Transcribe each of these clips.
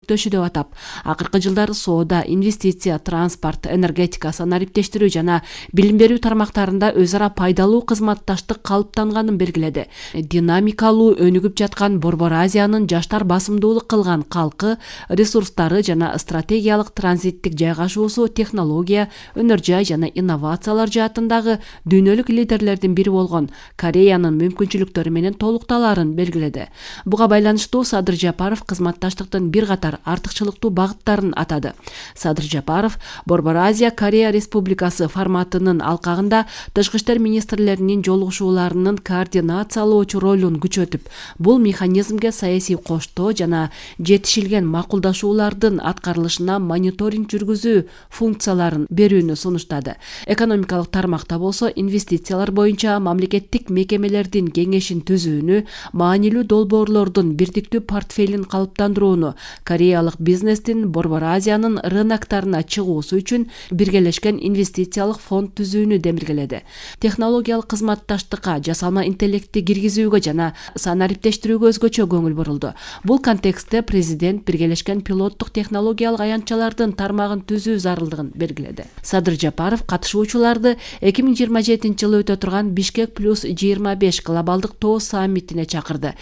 өтөшү деп атап, акыркы жылдары соода, инвестиция, транспорт, энергетика, санариптештирүү жана билим берүү тармактарында өз ара пайдалуу кызматташтык калыптанганын белгиледи. Динамикалуу өнүгүп жаткан Борбор Азиянын жаштар басымдуулук кылган калкы, ресурстары жана стратегиялык транзиттик жайгашуусу технология, өнөр жай жана инновациялар жаатындагы дүйнөлүк лидерлердин бири болгон Кореянын мүмкүнчүлүктөрү менен толукталарын белгиледи. Буга байланыштуу Садыр Жапаров кызматташтыктын бир катар артыкчылыктуу багыттарын атады. Садыр Жапаров Борбор Азия Корея Республикасы форматынын алкагында тышкы иштер министрлеринин жолугушууларынын координациялоочу ролун күчөтүп, бул механизмге саясий коштоо жана жетишилген макулдашуулардын аткарылышына мониторинг жүргүзүү функцияларын берүүнү сунуштады. Экономикалык тармакта болсо инвестициялар боюнча мамлекеттик мекемелердин кеңешин түзүүнү, маанилүү долбоорлордун бирдиктүү портфелин калыптандырууну, кореялык бизнестин Борбор Азиянын рыноктарына чыгуусу үчүн биргелешкен инвестициялык фонд түзүүнү демилгеледи. Технологиялык кызматташтыкка, жасалма интеллектти киргизүүгө жана санариптештирүүгө өзгөчө көңүл бурулду. Бул контекстте президент биргелешкен пилоттук технологиялык аянтчалардын тармагын түзүү зарылдыгын белгиледи. Садыр Жапаров катышуучуларды 2027 жылы өтө турган Бишкек +25 глобалдык тоо саммитине чакырды.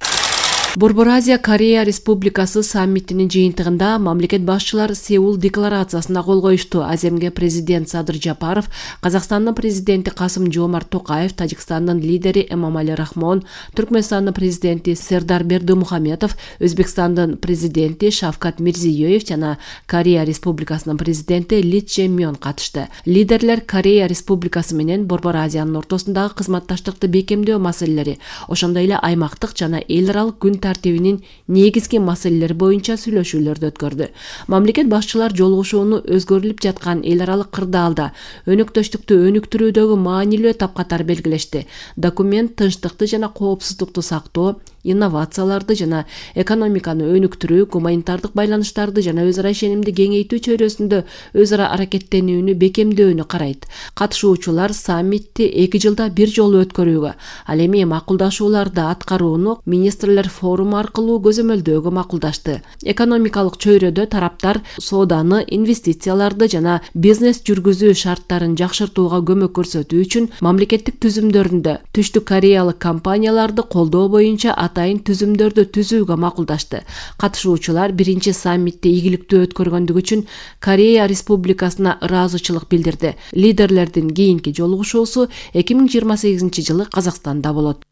Борбор Азия Корея Республикасы саммитинин жыйынтыгында мамлекет башчылары Сеул декларациясына кол коюшту. Аземге президент Садыр Жапаров, Казакстандын президенти Касым-Жомарт Токаев, Тажикстандын лидери Эмомали Рахмон, Түркмөнстандын президенти Сердар Бердымухаметов, Өзбекстандын президенти Шавкат Мирзиёев жана Корея Республикасынын президенти Ли Чжэ-мён катышты. Лидерлер Корея Республикасы менен Борбор Азиянын ортосундагы кызматташтыкты бекемдөө маселелери, ошондой эле аймактык жана эл аралык күн тартибинин негизги маселелери боюнча сүйлөшүүлөрдү өткөрдү. Мамлекет башчылар жолугушууну өзгөрүлүп жаткан эл аралык кырдаалда өнөктөштүктү өнүктүрүүдөгү маанилүү этап катары белгилешти. Документ тынчтыкты жана коопсуздукту сактоо, инновацияларды жана экономиканы өнүктүрүү, гуманитардык байланыштарды жана өз ара ишенимди кеңейтүү чөйрөсүндө өз ара аракеттенүүнү бекемдөөнү карайт. Катышуучулар саммитти 2 жылда бир жолу өткөрүүгө, ал эми макулдашууларды аткарууну министрлер форуму аркылуу көзөмөлдөөгө макулдашты. Экономикалык чөйрөдө тараптар сооданы, инвестицияларды жана бизнес жүргүзүү шарттарын жакшыртууга көмөк көрсөтүү үчүн мамлекеттик түзүмдөрүндө Түштүк Кореялык компанияларды колдоо боюнча атайын түзүмдөрдү түзүүгө макулдашты. Катышуучулар биринчи саммитти ийгиликтүү өткөргөндүгү үчүн Корея Республикасына ыраазычылык билдирди. Лидерлердин кийинки жолугушуусу 2028 жылы Казакстанда болот.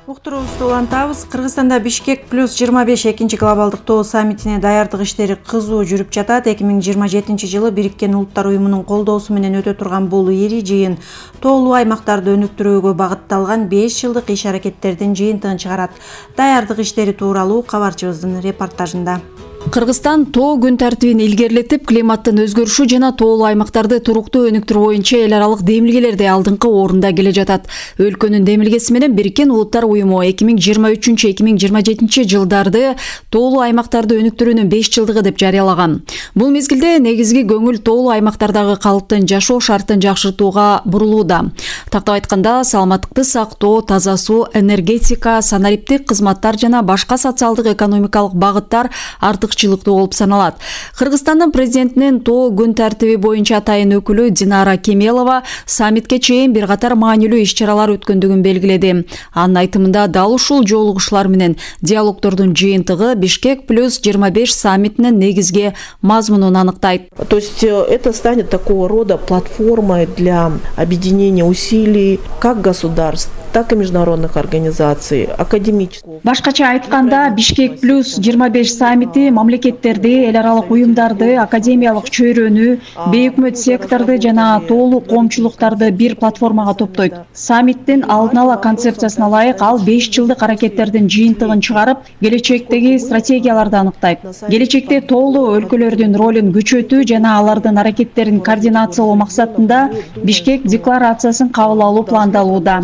Уктуруубузду улантабыз. Кыргызстанда Бишкек +25 экинчи глобалдык тоо саммитине даярдык иштери кызуу жүрүп жатат. 2027 жылы Бириккен Улуттар уюмунун колдоосу менен өтө турган бул ири жыйын тоолуу аймактарды өнүктүрүүгө багытталган 5 жылдык иш-аракеттердин жыйынтыгын чыгарат. Даярдык иштери тууралуу кабарчыбыздын репортажында. Кыргызстан тоо күн тартибин илгерилетип, климаттын өзгөрүшү жана тоолуу аймактарды туруктуу өнүктүрүү боюнча эл аралык демилгелерде алдыңкы орунда келе жатат. Өлкөнүн демилгеси менен Бириккен Улуттар уюму 2023-2027 жылдарды тоолуу аймактарды өнүктүрүүнүн 5 жылдыгы деп жарыялаган. Бул мезгилде негизги көңүл тоолуу аймактардагы калктын жашоо шартын жакшыртууга бурулууда. Тактап айтканда, саламаттыкты сактоо, таза суу, энергетика, санариптик кызматтар жана башка социалдык экономикалык багыттар артыкчылыктуу болуп саналат. Кыргызстандын президентинин тоо күн тартиби боюнча атайын өкүлү Динара Кемелова саммитке чейин бир катар маанилүү иш-чаралар өткөндүгүн белгиледи. Анын айтымында дал ушул жолугушуулар менен диалогдордун жыйынтыгы Бишкек +25 саммитинин негизги мазмунун аныктайт. То есть это станет такого рода платформой для объединения усилий как государств, так и международных организаций, академических. Башкача айтканда, Бишкек +25 саммити мамлекеттерди, эл аралык уюмдарды, академиялык чөйрөнү, бейөкмөт секторду жана тоолуу коомчулуктарды бир платформага топтойт. Саммиттин алдын ала концепциясына ылайык ал 5 жылдык аракеттердин жыйынтыгын чыгарып, келечектеги стратегияларды аныктайт. Келечекте тоолуу өлкөлөрдүн ролун күчөтүү жана алардын аракеттерин координациялоо максатында Бишкек декларациясын кабыл алуу пландалууда.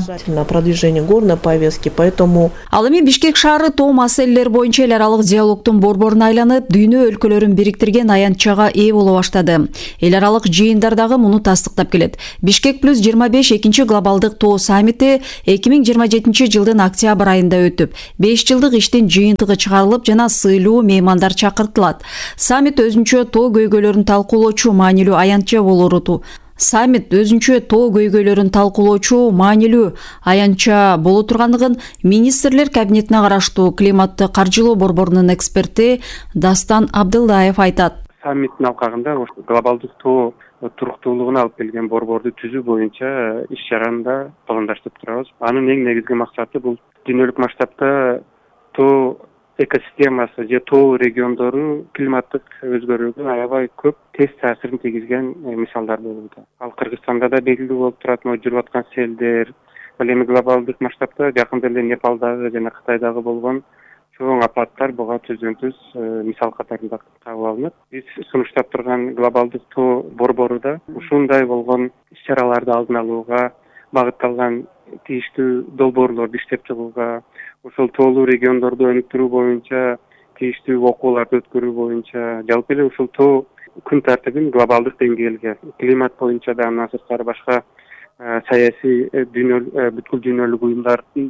Продвижение горной повестки, поэтому ал эми Бишкек шаары тоо маселелери боюнча эл аралык диалогдун борборуна айланып, айланып, дүйнө өлкөлөрүн бириктирген аянтчага ээ боло баштады. Эл аралык жыйындардагы муну тастыктап келет. Бишкек плюс 25 экинчи глобалдык тоо саммити 2027 жылдын октябрь айында өтүп, 5 жылдык иштин жыйынтыгы чыгарылып жана сыйлуу меймандар чакыртылат. Саммит өзүнчө тоо көйгөйлөрүн талкуулоочу маанилүү аянтча болору боло тургандыгын Министрлер кабинетине караштуу климатты каржылоо борборунун эксперти Дастан Абдылдаев айтат. Саммиттин алкагында глобалдык тоо туруктуулугуна алып келген борборду түзүү боюнча иш-чараны да пландаштырып турабыз. Анын эң негизги максаты бул дүйнөлүк масштабта тоо экосистемасы же тоо региондору климаттык өзгөрүүгө аябай көп тез таасирин тийгизген мисалдар болууда. Ал Кыргызстанда да белгилүү болуп турат, жүрүп аткан селдер, ал эми глобалдык масштабта жакында эле Непалдагы жана Кытайдагы болгон чоң апаттар буга түздөн-түз мисал катарында кабыл алынат. Биз сунуштап турган глобалдык тоо борбору да ушундай болгон иш-чараларды алдын алууга багытталган тийиштүү долбоорлорду иштеп чыгууга, ошол тоолуу региондорду өнүктүрүү боюнча тийиштүү окууларды өткөрүү боюнча, жалпы эле ушул тоо күн тартибин глобалдык деңгээлге, климат боюнча да андан сырткары башка саясий бүткүл дүйнөлүк уюмдардын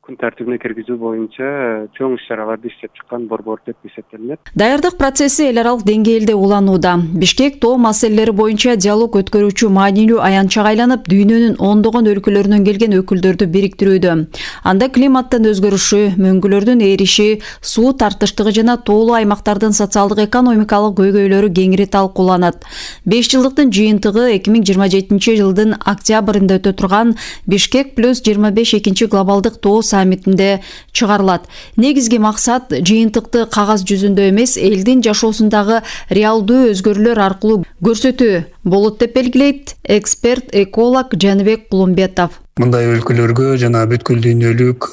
күн тартибине киргизүү боюнча чоң иш-чараларды иштеп чыккан борбор деп эсептелинет. Даярдык процесси эл аралык деңгээлде уланууда. Бишкек тоо маселелери боюнча диалог өткөрүүчү маанилүү аянтчага айланып, дүйнөнүн ондогон өлкөлөрүнөн келген өкүлдөрдү бириктирүүдө. Анда климаттын өзгөрүшү, мөңгүлөрдүн эриши, суу тартыштыгы жана тоолуу аймактардын социалдык экономикалык көйгөйлөрү кеңири талкууланат. 5 жылдыктын жыйынтыгы 2027 жылдын октябрында өтө турган Бишкек плюс 25 экинчи глобалдык тоо саммитинде чыгарылат. Негизги максат жыйынтыкты кагаз жүзүндө эмес, элдин жашоосундагы реалдуу өзгөрүүлөр аркылуу көрсөтүү болот деп белгилейт эксперт эколог Жаныбек Кулумбетов. Мындай өлкөлөргө жана бүткүл дүйнөлүк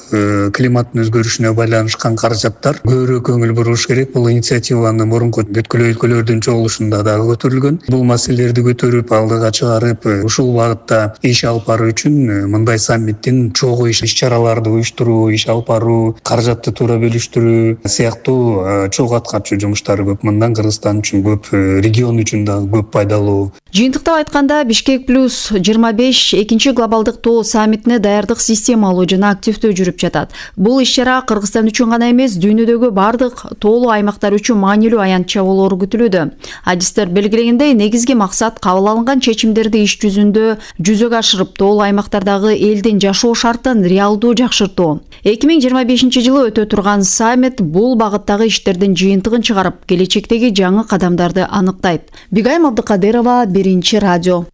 климаттын өзгөрүшүнө байланышкан каражаттар көбүрөөк көңүл буруш керек. Бул инициативаны мурунку бүткүл өлкөлөрдүн чогулушунда дагы көтөрүлгөн. Бул маселелерди көтөрүп, алдыга чыгарып, ушул багытта иш алып баруу үчүн мындай саммиттин чогуу иш-чараларды уюштуруу, иш алып баруу, каражатты туура бөлүштүрүү сыяктуу чогуу аткарчу жумуштары көп. Мындан Кыргызстан үчүн көп, регион үчүн дагы көп пайдалуу. Жыйынтыктап айтканда, Бишкек плюс 25 экинчи глобалдык тоо саммитине даярдык системалуу жана активдүү жүрүп жатат. Бул иш-чара Кыргызстан үчүн гана эмес, дүйнөдөгү бардык тоолуу аймактар үчүн маанилүү аянтча болору күтүлүүдө. Адистер белгилегендей, негизги максат кабыл алынган чечимдерди иш жүзүндө жүзөгө ашырып, тоолуу аймактардагы элдин жашоо шартын реалдуу жакшыртуу. 2025 жылы өтө турган саммит бул багыттагы иштердин жыйынтыгын чыгарып, келечектеги жаңы кадамдарды аныктайт. Бигайым Абдыкадырова, Биринчи радио.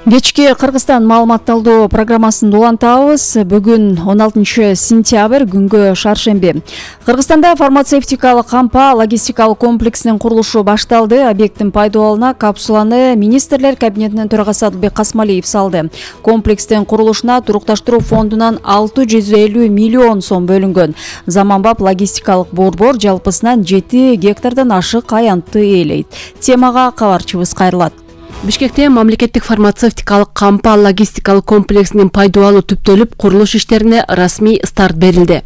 Кечки Кыргызстан маалыматталдоо программасын улантабыз. Бүгүн 16 сентябрь күнгө шаршемби. Кыргызстанда фармацевтикалык кампа логистикалык комплексинин курулушу башталды. Объекттин пайдаланууна капсуланы Министрлер кабинетинин төрагасы Адылбек Касмалиев салды. Комплекстин курулушуна турукташтыруу фондунан 650 миллион сом бөлүнгөн. Заманбап логистикалык борбор жалпысынан 7 гектардан ашык аянтты ээлейт. Темага кабарчыбыз кайрылат. Бишкекте мамлекеттик фармацевтикалык кампа логистикалык комплексинин пайдалануу түптөлүп, курулуш иштерине расмий старт берилди.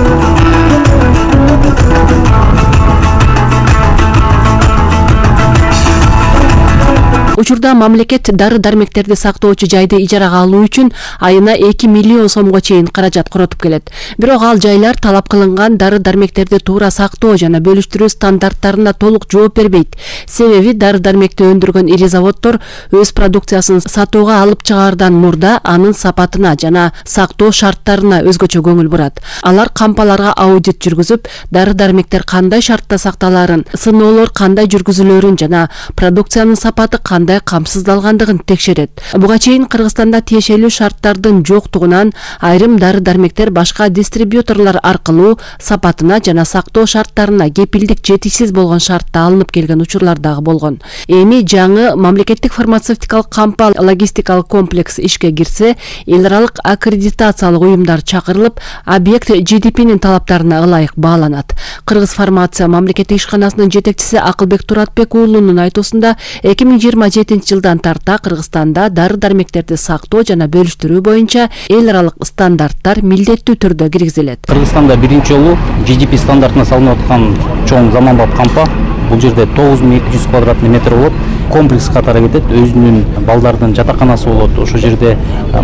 Учурда мамлекет дары-дармектерди сактоочу жайды ижарага алуу үчүн айына 2 миллион сомго чейин каражат коротуп келет. Бирок ал жайлар талап кылынган дары-дармектерди туура сактоо жана бөлүштүрүү стандарттарына толук жооп бербейт. Себеби дары-дармекти өндүргөн ири заводдор өз продукциясын сатууга алып чыгаардан мурда анын сапатына жана сактоо шарттарына өзгөчө көңүл бурат. Алар кампаларга аудит жүргүзүп, дары-дармектер кандай шартта сакталарын, сыноолор кандай жүргүзүлөрүн жана продукциянын сапаты кандай камсыздалгандыгын текшерет. Буга чейин Кыргызстанда тиешелүү шарттардын жоктугунан айрым дары-дармектер башка дистрибьюторлор аркылуу сапатына жана сактоо шарттарына кепилдик жетишсиз болгон шартта алынып келген учурлар дагы болгон. Эми жаңы мамлекеттик фармацевтикалык кампа логистикалык комплекс ишке кирсе, эл аралык аккредитациялык уюмдар чакырылып, объект GDP'нин талаптарына ылайык бааланат. Кыргыз фармация мамлекеттик ишканасынын жетекчиси Акылбек Туратбек уулунун айтуусунда 2020 2027 жылдан тарта Кыргызстанда дары-дармектерди сактоо жана бөлүштүрүү боюнча эл аралык стандарттар милдеттүү түрдө киргизилет. Кыргызстанда биринчи жолу GDP стандартына салынып аткан чоң заманбап кампа. Бул жерде 9200 квадратный метр болот. Комплекс катары кетет. Өзүнүн балдардын жатаканасы болот. Ошол жерде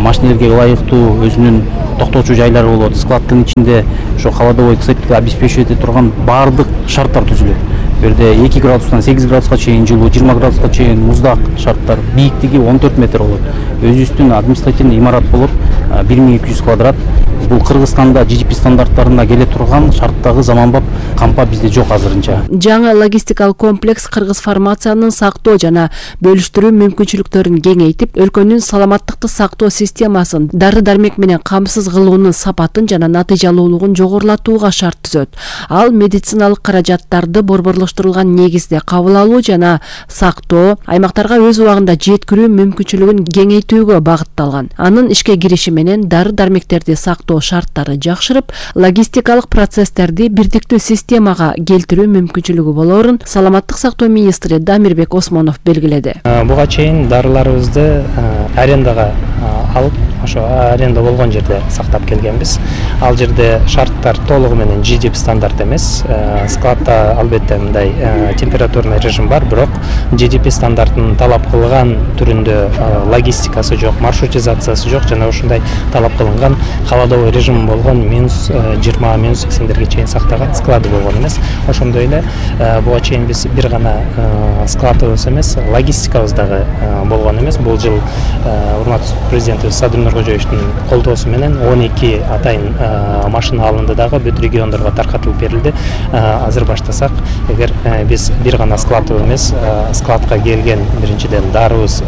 машинелерге ылайыктуу өзүнүн токтоочу жайлары болот. Складдын ичинде ошо холодовой цепьти обеспечивать ете турган баардык шарттар түзүлөт. Бул жерде 2 градустан 8 градуска чейин жылуу, 20 градуска чейин муздак шарттар, бийиктиги 14 метр болот. Өзүбүздүн административный имарат болот 1200 квадрат. Бул Кыргызстанда GDP стандарттарына келе турган шарттагы заманбап кампа бизде жок азырынча. Жаңы логистикалык комплекс кыргыз фармациянын сактоо жана бөлүштүрүү мүмкүнчүлүктөрүн кеңейтип, өлкөнүн саламаттыкты сактоо системасын дары-дармек менен камсыз кылуунун сапатын жана натыйжалуулугун жогорулатууга шарт түзөт. Ал медициналык каражаттарды борборлоштурулган негизде кабыл алуу жана сактоо, аймактарга өз убагында жеткирүү мүмкүнчүлүгүн кеңейтүүгө багытталган. Анын ишке кириши менен дары-дармектерди сактоо шарттары жакшырып, логистикалык процесстерди бирдиктүү системага келтирүү мүмкүнчүлүгү болорун саламаттык сактоо министри Дамирбек Осмонов белгиледи. Буга чейин дарыларыбызды арендага алып, ошо аренда болгон жерде сактап келгенбиз. Ал жерде шарттар толугу менен GDP стандарт эмес. Складда албетте мындай температурный режим бар, бирок GDP стандартын талап кылган түрүндө логистикасы жок, маршрутизациясы жок жана ошондой талап кылынган холодовой режим болгон -20, -80дерге чейин сактаган склады болгон эмес. Ошондой эле буга чейин биз бир гана складыбыз эмес, логистикабыз дагы болгон эмес. Бул жыл урматтуу президентибиз Садыр Нуркожоевичтин колдоосу менен 12 атайын машина алынды дагы бүт региондорго таркатылып берилди. Азыр баштасак, эгер биз бир гана складыбыз эмес, складка келген биринчиден дарыбыз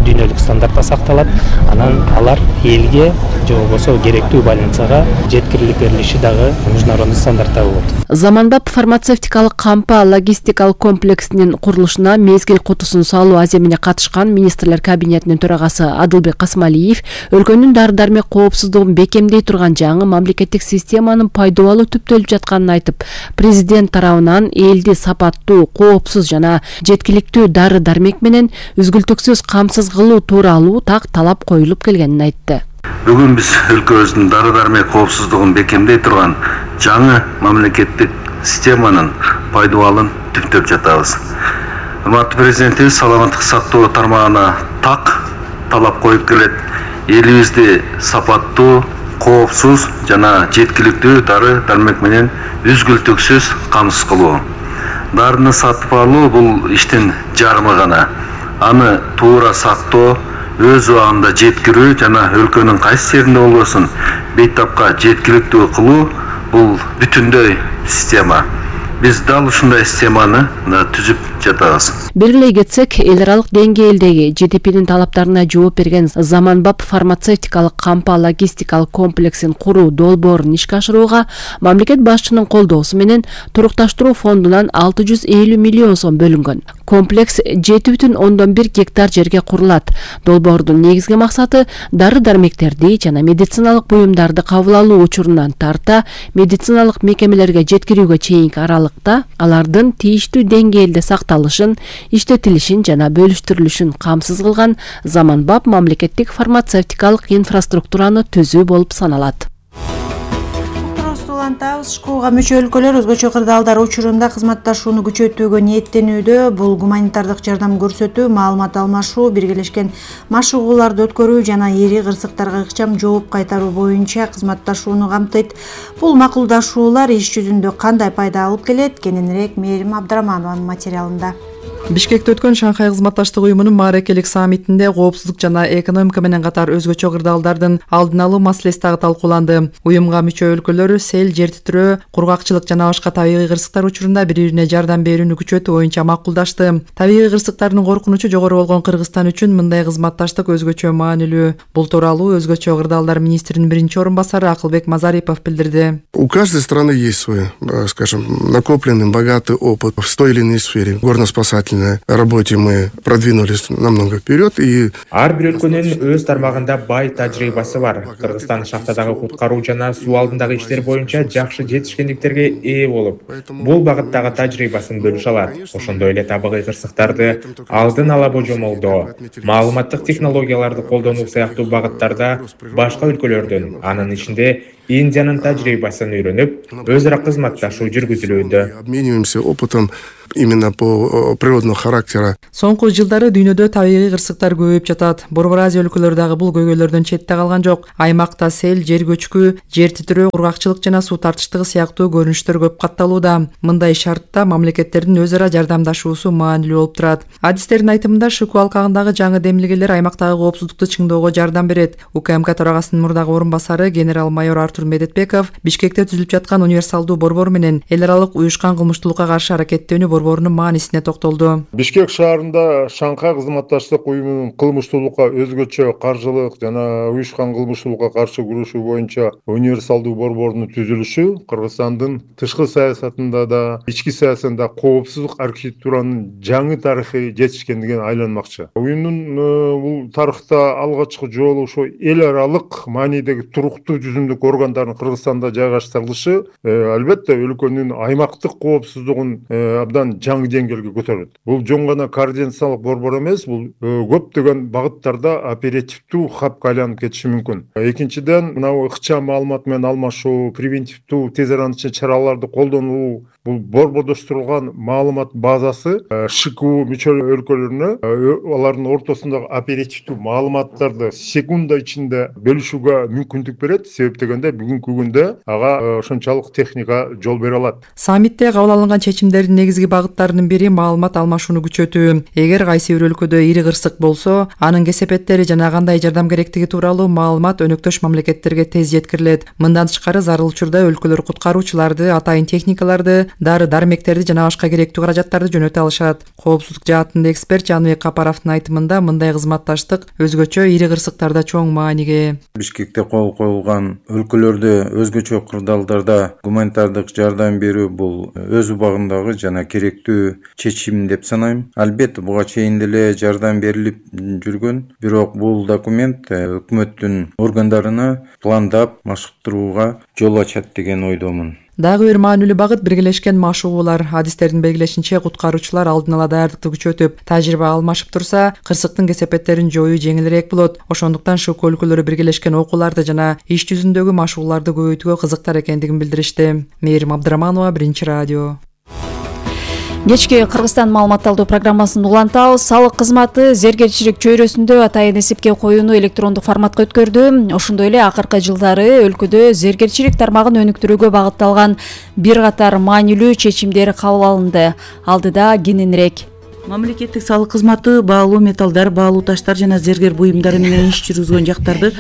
дүйнөлүк стандартта сакталат, анан алар элге же болбосо керектүү больницага жеткирилип берилиши дагы международный стандартта болот. Заманбап фармацевтикалык кампа логистикалык комплексинин курулушуна мезгил кутусун салуу аземине катышкан министрлер кабинетинин төрагасы Адылбек Касмалиев өлкөнүн дары-дармек коопсуздугун бекемдей турган жаңы мамлекеттик системанын пайдалуу түптөлүп жатканын айтып, президент тарабынан элди сапаттуу, коопсуз жана жеткиликтүү дары-дармек менен үзгүлтүксүз камсыз кылуу тууралуу так талап коюлуп келгенин айтты. Бүгүн биз өлкөбүздүн дары-дармек коопсуздугун бекемдей турган жаңы мамлекеттик системанын пайдалуулун түптөп жатабыз. Урматтуу президентибиз саламаттык сактоо тармагына так талап коюп келет. Элибизди сапаттуу, коопсуз жана жеткиликтүү дары-дармек менен үзгүлтүксүз камсыз кылуу. Дарыны сатып алуу бул иштин жарымы гана. Аны туура сактоо, өз убагында жеткирүү жана өлкөнүн кайсы жеринде болбосун бейтапка жеткиликтүү кылуу бул бүтүндөй система. Биз дал ушундай системаны түзүп жатабыз. Белгилей кетсек, эл аралык деңгээлдеги GDP'нин талаптарына жооп берген заманбап фармацевтикалык кампа логистикалык комплексин куруу долбоорун ишке ашырууга мамлекет башчынын колдоосу менен турукташтыруу фондунан 650 миллион сом бөлүнгөн. Комплекс 7,1 гектар жерге курулат. Долбоордун негизги максаты дары-дармектерди жана медициналык буюмдарды кабыл алуу учурунан тарта медициналык мекемелерге жеткирүүгө чейинки аралыкта алардын тийиштүү деңгээлде сакталышын, иштетилишин жана бөлүштүрүлүшүн камсыз кылган заманбап мамлекеттик фармацевтикалык инфраструктураны түзүү болуп саналат. ШКОга мүчө өлкөлөр өзгөчө кырдаалдар учурунда кызматташууну күчөтүүгө ниеттенүүдө. Бул гуманитардык жардам көрсөтүү, маалымат алмашуу, биргелешкен машыгууларды өткөрүү жана ири кырсыктарга ыкчам жооп кайтаруу боюнча кызматташууну камтыйт. Бул макулдашуулар иш жүзүндө кандай пайда алып келет? Кененирээк Мээрим Абдрахманованын материалында. Бишкекте өткөн Шанхай кызматташтык уюмунун маарекелик саммитинде коопсуздук жана экономика менен катар өзгөчө кырдаалдардын алдын алуу маселеси дагы талкууланды. Уюмга мүчө өлкөлөр сел, жер титирөө, кургакчылык жана башка табигый кырсыктар учурунда бири-бирине жардам берүүнү күчөтүү боюнча макулдашты. Табигый кырсыктардын коркунучу жогору болгон Кыргызстан үчүн мындай кызматташтык өзгөчө маанилүү. Бул тууралуу өзгөчө кырдаалдар министринин биринчи орун басары Акылбек Мазарипов билдирди. У каждой страны есть свой, скажем, накопленный богатый опыт в той или иной сфере. Горно-спасательной отечественной работе мы продвинулись намного вперед. И ар бир өлкөнүн өз тармагында бай тажрыйбасы бар. Кыргызстан шахтадагы куткаруу жана суу алдындагы иштер боюнча жакшы жетишкендиктерге ээ болуп, бул багыттагы тажрыйбасын бөлүшө алат. Ошондой эле табигый кырсыктарды алдын ала божомолдоо, маалыматтык технологияларды колдонуу сыяктуу багыттарда башка өлкөлөрдөн, анын ичинде Индиянын тажрыйбасын үйрөнүп, өз ара кызматташуу жүргүзүлүүдө. Обмениваемся опытом именно по природного характера. Соңку жылдары дүйнөдө табигый кырсыктар көбөйүп жатат. Борбор Азия өлкөлөрү дагы бул көйгөйлөрдөн четте калган жок. Аймакта сел, жер көчкү, жер титирөө, кургакчылык жана суу тартыштыгы сыяктуу көрүнүштөр көп катталууда. Мындай шартта мамлекеттердин өз ара жардамдашуусу маанилүү болуп турат. Адистердин айтымында ШКУ алкагындагы жаңы демилгелер аймактагы коопсуздукту чыңдоого жардам берет. УКМК төрагасынын мурдагы орун басары генерал-майор Артур Медетбеков Бишкекте түзүлүп жаткан универсалдуу борбор менен эл аралык уюшкан кылмыштуулукка каршы аракеттенүү борборунун маанисине токтолду. Бишкек шаарында Шанхай кызматташтык уюмунун кылмыштуулукка өзгөчө каржылык жана уюшкан кылмыштуулукка каршы күрөшүү боюнча универсалдуу борбордун түзүлүшү Кыргызстандын тышкы саясатында да, ички саясатында коопсуздук архитектуранын жаңы тарыхый жетишкендигин айланмакчы. Уюмдун бул тарыхта алгачкы жолу ошо эл аралык маанидеги туруктуу жүзүмдүк органдардын Кыргызстанда жайгаштырылышы албетте өлкөнүн аймактык коопсуздугун абдан жаңы деңгээлге көтөрөт. Бул жөн гана координациялык борбор эмес, бул көптөгөн багыттарда оперативдүү хабка айланып кетиши мүмкүн. Экинчиден, мына ыкчам маалымат менен алмашуу, превентивдүү тез аранча чараларды колдонуу, бул борбордоштурулган маалымат базасы ШКУ мүчө өлкөлөрүнө алардын ортосундагы оперативдүү маалыматтарды секунда ичинде бөлүшүүгө мүмкүндүк берет. Себеп дегенде бүгүнкү күндө ага ошончолук техника жол бере алат. Саммитте кабыл алынган чечимдердин негизги багыттарынын бири маалымат алмашууну күчөтүү. Эгер кайсы бир өлкөдө ири кырсык болсо, анын кесепеттери жана кандай жардам керектиги тууралуу маалымат өнөктөш мамлекеттерге тез жеткирилет. Мындан тышкары зарыл учурда өлкөлөр куткаруучуларды, атайын техникаларды, дары-дармектерди жана башка керектүү каражаттарды жөнөтө алышат. Коопсуздук жаатында эксперт Жаныбек Капаровдун айтымында мындай кызматташтык өзгөчө ири кырсыктарда чоң мааниге. Бишкекте кол коюлган өлкөлөрдө өзгөчө кырдаалдарда гуманитардык жардам берүү бул өз убагындагы жана керектүү чечим деп санайм. Албетте буга чейин деле жардам берилип жүргөн, бирок бул документ өкмөттүн органдарына пландап машыктырууга жол ачат деген ойдомун. Дагы бир маанилүү багыт биргелешкен машыгуулар. Адистердин белгилешинче, куткаруучулар алдын ала даярдыкты күчөтүп, тажрыйба алмашып турса, кырсыктын кесепеттерин жоюу жеңилирээк болот. Ошондуктан ШКУ өлкөлөрү биргелешкен окууларды жана иш жүзүндөгү машыгууларды көбөйтүүгө кызыктар экендигин билдиришти. Мээрим Абдыраманова, Биринчи радио. Кечки Кыргызстан маалыматталдуу программасын улантабыз. Салык кызматы зергерчилик чөйрөсүндө атайын эсепке коюуну электрондук форматка өткөрдү. Ошондой эле акыркы жылдары өлкөдө зергерчилик тармагын өнүктүрүүгө багытталган бир катар маанилүү чечимдер кабыл алынды. Алдыда кененирээк. Мамлекеттик салык кызматы баалуу металлдар, баалуу таштар жана зергер буюмдары менен иш жүргүзгөн жактарды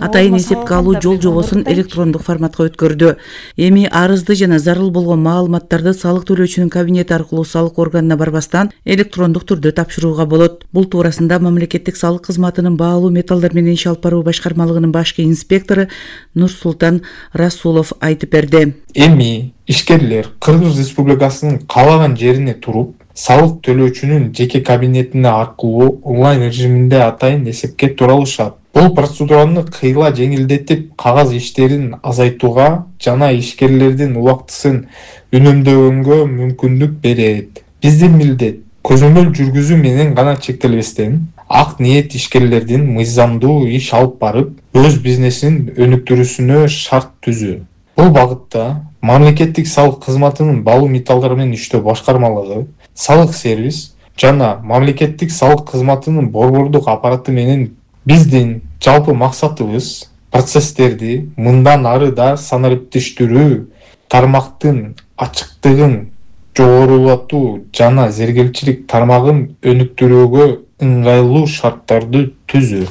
атайын эсепке алуу жол жобосун электрондук форматка өткөрдү. Эми арызды жана зарыл болгон маалыматтарды салык төлөөчүнүн кабинети аркылуу салык органына барбастан электрондук түрдө тапшырууга болот. Бул туурасында мамлекеттик салык кызматынын баалуу металлдар менен иш алып баруу башкармалыгынын башкы инспектору Нурсултан Расулов айтып берди. Эми ишкерлер Кыргыз Республикасынын каалаган жерине туруп, салык төлөөчүнүн жеке кабинетине аркылуу онлайн режиминде атайын эсепке тура алышат. Бул процедураны кыйла жеңилдетип, кагаз иштерин азайтууга жана ишкерлердин убактысын үнөмдөгөнгө мүмкүндүк берет. Биздин милдет көзөмөл жүргүзүү менен гана чектелбестен, ак ниет ишкерлердин мыйзамдуу иш алып барып, өз бизнесин өнүктүрүүсүнө шарт түзүү. Бул багытта мамлекеттик салык кызматынын баалуу металлдар менен иштөө башкармалыгы, салык сервис жана мамлекеттик салык кызматынын борбордук аппараты менен биздин жалпы максатыбыз процесстерди мындан ары да санариптештирүү, тармактын ачыктыгын жогорулатуу жана зергерчилик тармагын өнүктүрүүгө ыңгайлуу шарттарды түзүү.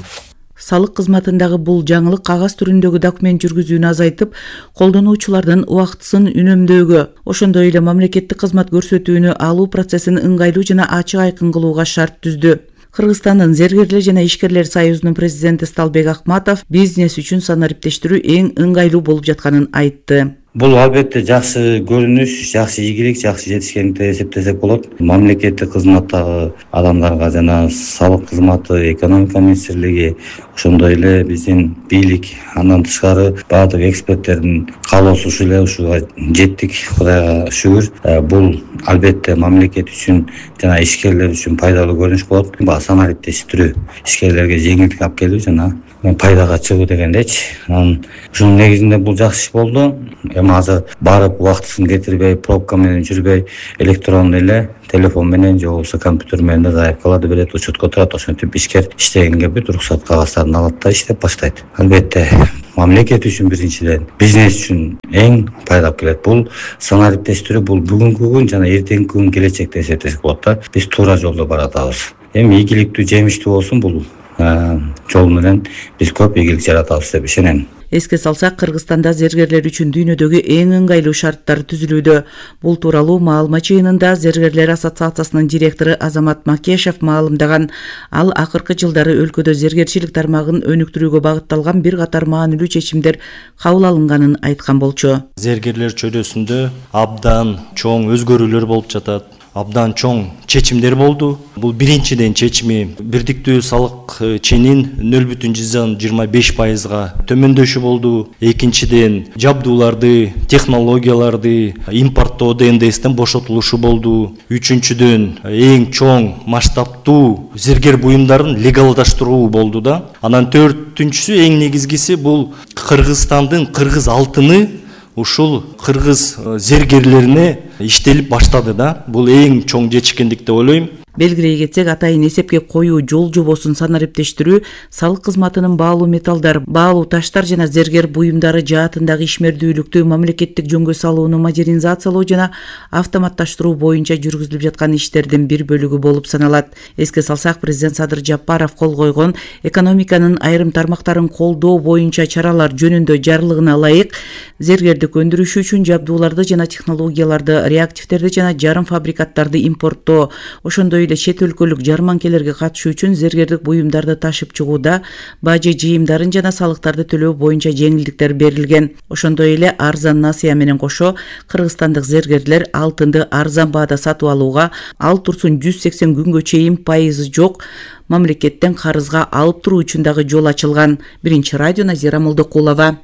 Салык кызматындагы бул жаңылык кагаз түрүндөгү документ жүргүзүүнү азайтып, колдонуучулардын убактысын үнөмдөөгө, ошондой эле мамлекеттик кызмат көрсөтүүнү алуу процессин ыңгайлуу жана ачык айкын кылууга шарт түздү. Кыргызстандын зергерлер жана ишкерлер союзунун президенти Сталбек Акматов бизнес үчүн санариптештирүү эң ыңгайлуу болуп жатканын айтты. Бул албетте жакшы көрүнүш, жакшы ийгилик, жакшы жетишкендик деп эсептесек болот. Мамлекеттик кызматтагы адамдарга жана салык кызматы, экономика министрлиги, ошондой эле биздин бийлик, андан тышкары баардык эксперттердин каалоосу ушул эле, ушуга жеттик, Кудайга шүгүр. Бул албетте мамлекет үчүн жана ишкерлер үчүн пайдалуу көрүнүш болот. Санариптештирүү, ишкерлерге жеңилдик алып келүү жана пайдага чыгуу дегендечи. Ушунун негизинде бул жакшы иш болду. Эми азыр барып убактысын кетирбей, пробка менен жүрбөй, электрондой эле телефон менен же болбосо компьютер менен заявкаларды берет, учетко турат. Ошентип ишкер иштегенге бүт уруксат кагаздарын алат да иштеп баштайт. Албетте мамлекет үчүн биринчиден, бизнес үчүн эң пайдалуу келет. Бул санариптештирүү, бул бүгүнкү күн жана эртеңки күн келечекте эсептесек болот да. Биз туура жолдо баратабыз. Эми ийгиликтүү, жемиштүү болсун, бул жол менен биз көп ийгилик жаратабыз деп ишенем. Эске салсак, Кыргызстанда зергерлер үчүн дүйнөдөгү эң ыңгайлуу шарттар түзүлүүдө. Бул тууралуу маалымат жыйынында Зергерлер ассоциациясынын директору Азамат Макешев маалымдаган. Ал акыркы жылдары өлкөдө зергерчилик тармагын өнүктүрүүгө багытталган бир катар маанилүү чечимдер кабыл алынганын айткан болчу. Зергерлер чөйрөсүндө абдан чоң өзгөрүүлөр болуп жатат. Абдан чоң чечимдер болду. Бул биринчиден чечими бирдиктүү салык ченин 0,25%га төмөндөшү болду. Экинчиден жабдууларды, технологияларды импорттоодо НДСтен бошотулушу болду. Үчүнчүдөн эң чоң масштабтуу зергер буюмдарын легалдаштыруу болду да. Анан төртүнчүсү, эң негизгиси, бул Кыргызстандын кыргыз алтыны ушул кыргыз зергерлерине иштелип баштады да. Бул эң чоң жетишкендик деп ойлойм. Белгилей кетсек, атайын эсепке коюу жол жобосун санариптештирүү, салык кызматынын баалуу металлдар, баалуу таштар жана зергер буюмдары жаатындагы ишмердүүлүктү мамлекеттик жөнгө салууну модернизациялоо жана автоматташтыруу боюнча жүргүзүлүп жаткан иштердин бир бөлүгү болуп саналат. Эске салсак, президент Садыр Жапаров кол койгон экономиканын айрым тармактарын колдоо боюнча чаралар жөнүндө жарлыгына ылайык зергердик өндүрүш үчүн жабдууларды жана технологияларды, реактивдерди жана жарым фабрикаттарды импорттоо, ошондой эле чет өлкөлүк жарманкелерге катышуу үчүн зергердик буюмдарды ташып чыгууда бажы жыйымдарын жана салыктарды төлөө боюнча жеңилдиктер берилген. Ошондой эле арзан насыя менен кошо кыргызстандык зергерлер алтынды арзан баада сатып алууга, ал турсун 180 күнгө чейин пайызы жок мамлекеттен карызга алып туруу үчүн дагы жол ачылган. Биринчи радио, Назира Молдокулова.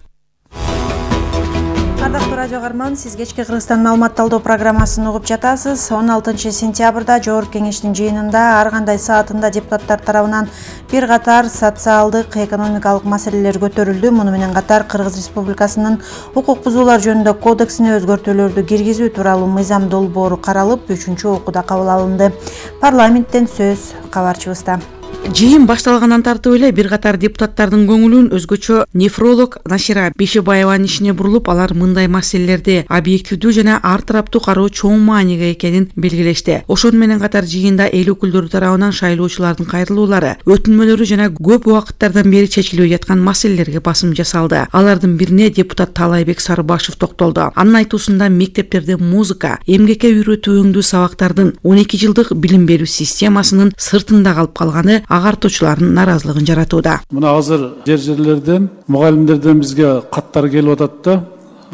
Радио Гарман, сиз кечки Кыргызстан маалымат талдоо программасын угуп жатасыз. 16 сентябрда Жогорку Кеңештин жыйынында ар кандай саатында депутаттар тарабынан бир катар социалдык, экономикалык маселелер көтөрүлдү. Муну менен катар Кыргыз Республикасынын укук бузуулар жөнүндө кодексине өзгөртүүлөрдү киргизүү тууралуу мыйзам долбоору каралып, 3-окууда кабыл алынды. Парламенттен сөз кабарчыбызда. Жыйын башталгандан тартып эле бир катар депутаттардын көңүлүн өзгөчө нефролог Нашира Бешебаеванын ишине бурулуп, алар мындай маселелерди объективдүү жана ар тараптуу кароо чоң мааниге экенин белгилешти. Ошону менен катар жыйында эл өкүлдөрү тарабынан шайлоочулардын кайрылуулары, өтүнмөлөрү жана көп убакыттардан бери чечилбей жаткан маселелерге басым жасалды. Алардын бирине депутат Таалайбек Сарыбашев токтолду. Анын айтуусунда мектептерде музыка, эмгекке үйрөтүү өңдүү сабактардын 12 жылдык билим берүү системасынын сыртында калып калганы агартуучулардын наразылыгын жаратууда. Мына азыр жерлерден, мугалимдерден бизге каттар келип атат да,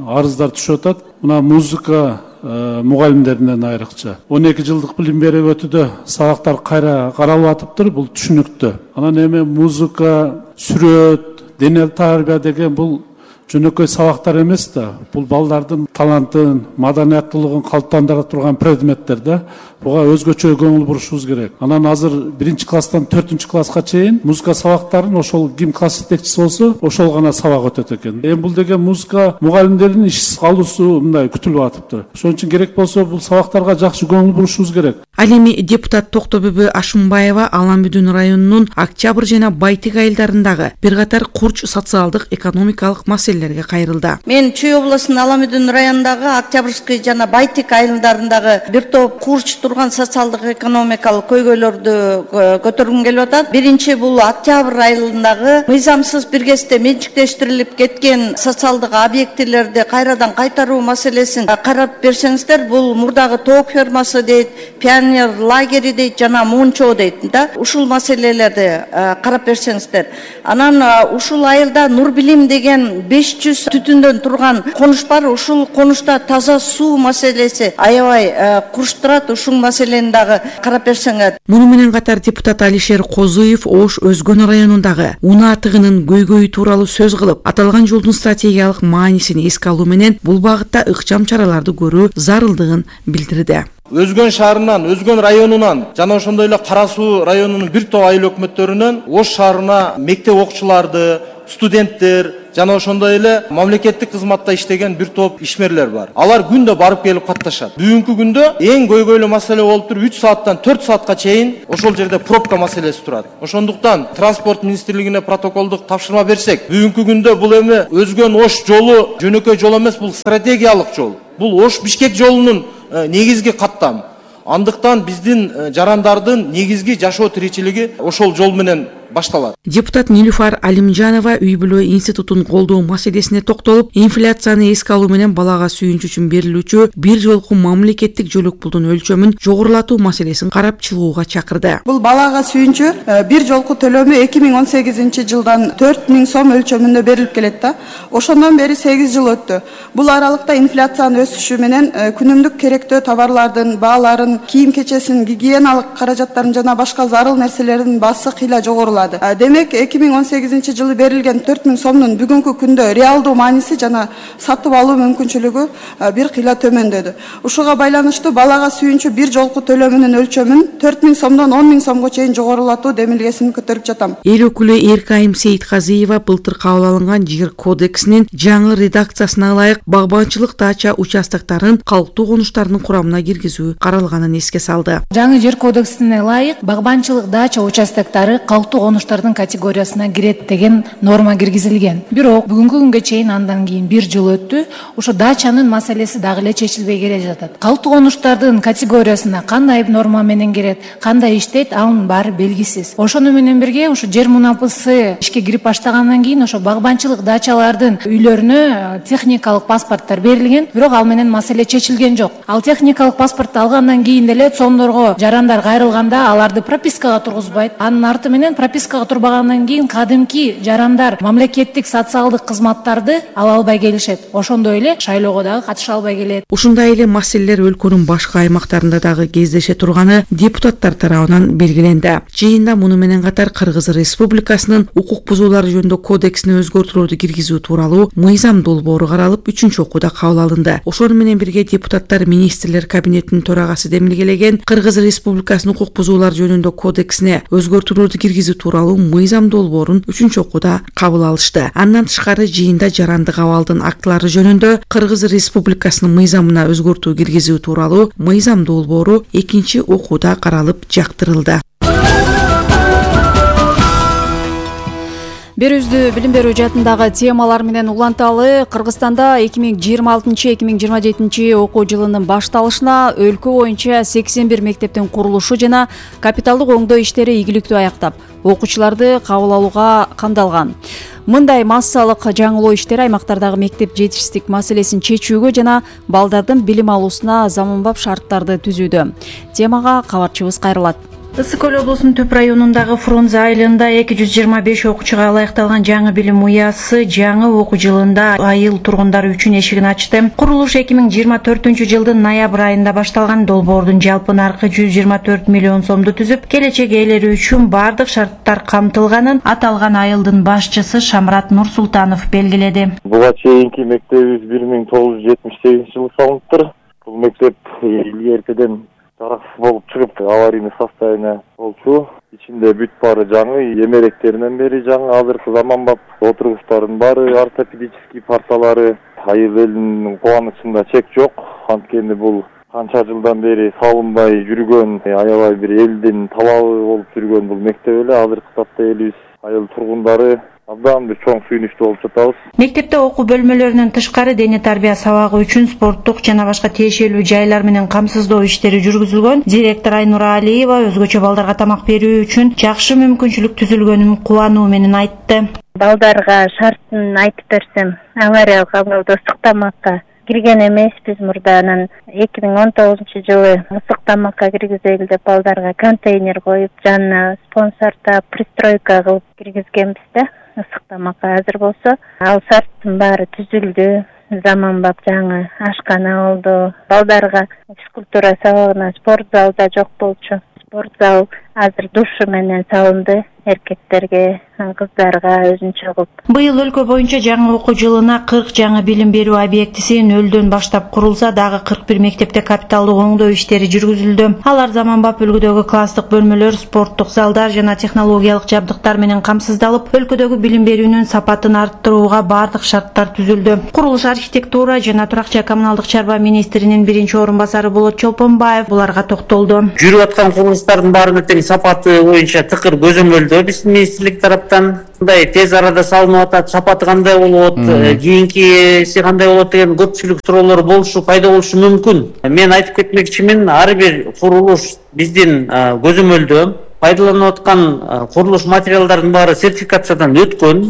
арыздар түшүп атат. Мына музыка мугалимдеринен айрыкча 12 жылдык билим берүү өтүүдө сабактар кайра каралып атыптыр, бул түшүнүктүү. Анан эми музыка, сүрөт, дене тарбия деген бул жөнөкөй сабактар эмес да. Бул балдардын талантын, маданияттуулугун калыптандыра турган предметтер да. Буга өзгөчө көңүл бурушубуз керек. Анан азыр 1-класстан 4-класска чейин музыка сабактарын ошол ким класс жетекчиси болсо, ошол гана сабак өтөт экен. Эми бул деген музыка мугалимдердин ишсиз калуусу мындай күтүлүп атыптыр. Ошон үчүн керек болсо бул сабактарга жакшы көңүл бурушубуз керек. Ал эми депутат Токтобүбү Ашымбаева Аламбүдүн районунун Октябрь жана Байтик айылдарындагы бир катар курч социалдык, экономикалык маселелерге кайрылды. Мен Чүй облусунун Аламбүдүн районундагы Октябрьский жана Байтик айылдарындагы бир топ курч турган социалдык, экономикалык көйгөйлөрдү көтөргүм келип атат. Биринчи бул Октябрь айылындагы мыйзамсыз бир кезде менчиктештирилип кеткен социалдык объектилерди кайрадан кайтаруу маселесин карап берсеңиздер. Бул мурдагы тоок фермасы дейт, пионер лагери дейт жана Мунчоо дейт да. Ушул маселелерди карап берсеңиздер. Анан ушул айылда Нур Билим деген 5 500 түтүндөн турган конуш бар. Ушул конушта таза суу маселеси аябай курчтурат. Ушул маселени дагы карап берсеңер. Муну менен катар депутат Алишер Козуев Ош Өзгөн районундагы унаа тыгынын көйгөйү тууралуу сөз кылып, аталган жолдун стратегиялык маанисин эске алуу менен бул багытта ыкчам чараларды көрүү зарылдыгын билдирди. Өзгөн шаарынан, Өзгөн районунан жана ошондой эле Кара Суу районунун бир топ айыл өкмөттөрүнөн Ош шаарына мектеп окуучуларды, студенттер жана ошондой эле мамлекеттик кызматта иштеген бир топ ишмерлер бар. Алар күндө барып келип катташат. Бүгүнкү күндө эң көйгөйлүү маселе болуп туруп 3 сааттан 4 саатка чейин ошол жерде пробка маселеси турат. Ошондуктан транспорт министрлигине протоколдук тапшырма берсек, бүгүнкү күндө бул эми Өзгөн Ош жолу жөнөкөй жол эмес, бул стратегиялык жол. Бул Ош Бишкек жолунун негизги каттам. Андыктан биздин жарандардын негизги жашоо тиричилиги ошол жол менен башталат. Депутат Нилуфар Алимжанова үй бүлө институтун колдоо маселесине токтолуп, инфляцияны эске алуу менен балага сүйүнүч үчүн берилүүчү бир жолку мамлекеттик жөлөк пулдун өлчөмүн жогорулатуу маселесин карап чыгууга чакырды. Бул балага сүйүнчү бир жолку төлөмү 2018 жылдан 4000 сом өлчөмүндө берилип келет да. Ошондон бери 8 жыл өттү. Бул аралыкта инфляциянын өсүшү менен күнүмдүк керектөө товарлардын бааларын, кийим-кечесин, гигиеналык каражаттарын жана башка зарыл нерселердин баасы кыйла жогорулады. Демек 2018 жылы берилген 4000 сомдун бүгүнкү күндө реалдуу мааниси жана сатып алуу мүмкүнчүлүгү бир кыйла төмөндөдү. Ушуга байланыштуу балага сүйүнчү бир жолку төлөмүнүн өлчөмүн 4000 сомдон 10000 сомго чейин жогорулатуу демилгесин көтөрүп жатам. Эл өкүлү Эркайым Сейитказиева былтыр кабыл алынган жер кодексинин жаңы редакциясына ылайык багбанчылык дача участоктарын калктуу конуштардын курамына киргизүү каралганын эске салды. Жаңы жер кодексине ылайык багбанчылык дача участоктары калктуу конуштардын категориясына кирет деген норма киргизилген. Бирок бүгүнкү күнгө чейин андан кийин бир жыл өттү. Ошо дачанын маселеси дагы эле чечилбей келе жатат. Калктуу конуштардын категориясына кандай норма менен кирет, кандай иштейт, анын баары белгисиз. Ошону менен бирге ошо жер мунапысы ишке кирип баштагандан кийин ошо багбанчылык дачалардын үйлөрүнө техникалык паспорттор берилген, бирок ал менен маселе чечилген жок. Ал техникалык паспортту алгандан кийин деле сомдорго жарандар кайрылганда аларды пропискага тургузбайт. Анын арты менен пропискага турбагандан кийин кадимки жарандар мамлекеттик социалдык кызматтарды ала албай келишет. Ошондой эле шайлоого дагы катыша албай келет. Ушундай эле маселелер өлкөнүн башка аймактарында дагы кездеше турганы депутаттар тарабынан белгиленди. Жыйында муну менен катар Кыргыз Республикасынын укук бузуулар жөнүндө кодексине өзгөртүүлөрдү киргизүү тууралуу мыйзам долбоору каралып 3-окууда кабыл алынды. Ошону менен бирге депутаттар министрлер кабинетинин төрагасы демилгелеген Кыргыз Республикасынын укук бузуулар жөнүндө кодексине өзгөртүүлөрдү киргизүү тууралуу мыйзам долбоорун 3-окууда кабыл алышты. Андан тышкары жыйында жарандык абалдын актылары жөнүндө Кыргыз Республикасынын мыйзамына өзгөртүү киргизүү тууралуу мыйзам долбоору 2-окууда каралып жактырылды. Берүүбүздү билим берүү жаатындагы темалар менен уланталы. Кыргызстанда 2026-2027 окуу жылынын башталышына өлкө боюнча 81 мектептин курулушу жана капиталдык оңдоо иштери ийгиликтүү аяктап, окуучуларды кабыл алууга камдалган. Мындай массалык жаңылоо иштери аймактардагы мектеп жетишсиздик маселесин чечүүгө жана балдардын билим алуусуна заманбап шарттарды түзүүдө. Темага кабарчыбыз кайрылат. Ысык Көл облусунун Төп районундагы Фрунзе айылында 225 окуучуга ылайыкталган жаңы билим уясы жаңы окуу жылында айыл тургундары үчүн эшигин ачты. Курулуш 2024 жылдын ноябрь айында башталган. Долбоордун жалпы наркы 124 миллион сомду түзүп, келечек ээлери үчүн бардык шарттар камтылганын аталган айылдын башчысы Шамрат Нурсултанов белгиледи. Буга чейинки мектебибиз 1978 жылы салыныптыр. Бул мектеп илгеркиден жараксыз болуп чыгып, аварийный состояние болчу. Ичинде бүт баары жаңы, эмеректеринен бери жаңы, азыркы заманбап отургучтардын баары ортопедический парталары. Айыл элинин кубанычында чек жок. Анткени бул канча жылдан бери салынбай жүргөн, аябай бир элдин талабы болуп жүргөн бул мектеп эле. Азыркы тапта элибиз айыл тургундары абдан бир чоң сүйүнүчтүү болуп жатабыз. Мектепте окуу бөлмөлөрүнөн тышкары дене тарбия сабагы үчүн спорттук жана башка тиешелүү жайлар менен камсыздоо иштери жүргүзүлгөн. Директор Айнура Алиева өзгөчө балдарга тамак берүү үчүн жакшы мүмкүнчүлүк түзүлгөнүн кубануу менен айтты. Балдарга шартын айтып берсем, авариялык абалда ысык тамакка кирген эмеспиз. Мурданын 2019 жылы ысык тамакка киргизели деп балдарга контейнер коюп, жанына спонсордоп, пристройка кылып киргизгенбиз да. ысык тамакка азыр болсо, ал шарттын баары түзүлдү. Заманбап жаңы ашкана болду. Балдарга физкультура сабагына спорт зал да жок болчу. Спорт зал азыр душу менен салынды. Эркектерге, кыздарга өзүнчө кылып. Быйыл өлкө боюнча жаңы окуу жылына 40 жаңы билим берүү объектиси нөлдөн баштап курулса, дагы 41 мектепте капиталдык оңдоо иштери жүргүзүлдү. Алар заманбап үлгүдөгү класстык бөлмөлөр, спорттук залдар жана технологиялык жабдыктар менен камсыздалып, өлкөдөгү билим берүүнүн сапатын арттырууга бардык шарттар түзүлдү. Курулуш, архитектура жана турак-жай коммуналдык чарба министринин биринчи орун басары Болот Чолпонбаев буларга токтолду. Жүрүп аткан курулуштардын баарынын тең сапаты боюнча тыкыр көзөмөлдөө биздин министрлик тараптан мындай тез арада салынып атат, сапаты кандай болот, кийинкиси кандай болот деген көпчүлүк суроолор пайда болушу мүмкүн. Мен айтып кетмекчимин, ар бир курулуш биздин көзөмөлдөө пайдаланып аткан курулуш материалдардын баары сертификациядан өткөн.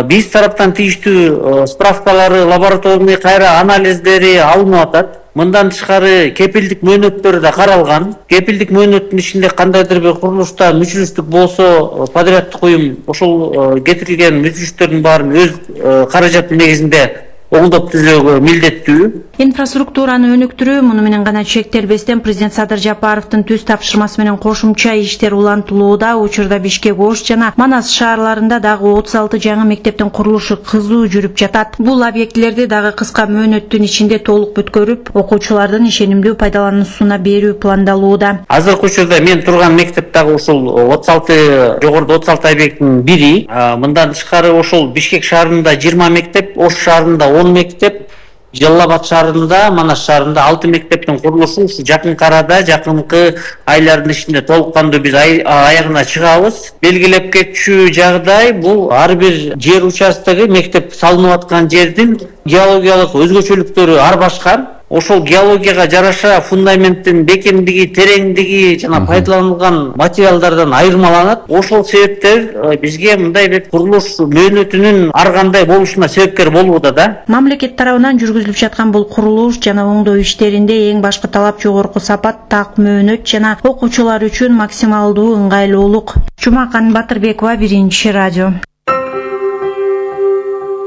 Биз тараптан тийиштүү справкалары, лабораторный кайра анализдери алынып атат. Мындан тышкары кепилдик мөөнөттөрү да каралган. Кепилдик мөөнөттүн ичинде кандайдыр бир курулушта мүчүлүштүк болсо, подряддык уюм ошол кетирилген мүчүлүштөрдүн баарын өз каражаты негизинде оңдоп түзүүгө милдеттүү. Инфраструктураны өнүктүрүү муну менен гана чектелбестен президент Садыр Жапаровдун түз тапшырмасы менен кошумча иштер улантылууда. Учурда Бишкек, Ош жана Манас шаарларында дагы 36 жаңы мектептин курулушу кызуу жүрүп жатат. Бул объектилерди дагы кыска мөөнөттүн ичинде толук бүткөрүп, окуучулардын ишенимдүү пайдалануусуна берүү пландалууда. Азыркы учурда мен турган мектеп дагы ушул 36 жогоруда 36 объекттин бири. Мындан тышкары ошол Бишкек шаарында 20 мектеп, Ош шаарында 10 мектеп, Жалал Абад шаарында, Манас шаарында 6 мектептин курулушу ушу жакынкы арада, жакынкы айлардын ичинде толук кандуу биз аягына чыгабыз. Белгилеп кетчү жагдай бул ар бир жер участогу мектеп салынып аткан жердин геологиялык өзгөчөлүктөрү ар башка. Ошол геологияга жараша фундаменттин бекемдиги, тереңдиги жана пайдаланылган материалдардан айырмаланат. Ошол себептер бизге мындай бир курулуш мөөнөтүнүн ар кандай болушуна себепкер болууда да. Мамлекет тарабынан жүргүзүлүп жаткан бул курулуш жана оңдоо иштеринде эң башкы талап жогорку сапат, так мөөнөт жана окуучулар үчүн максималдуу ыңгайлуулук. Жумакан Батырбекова, Биринчи радио.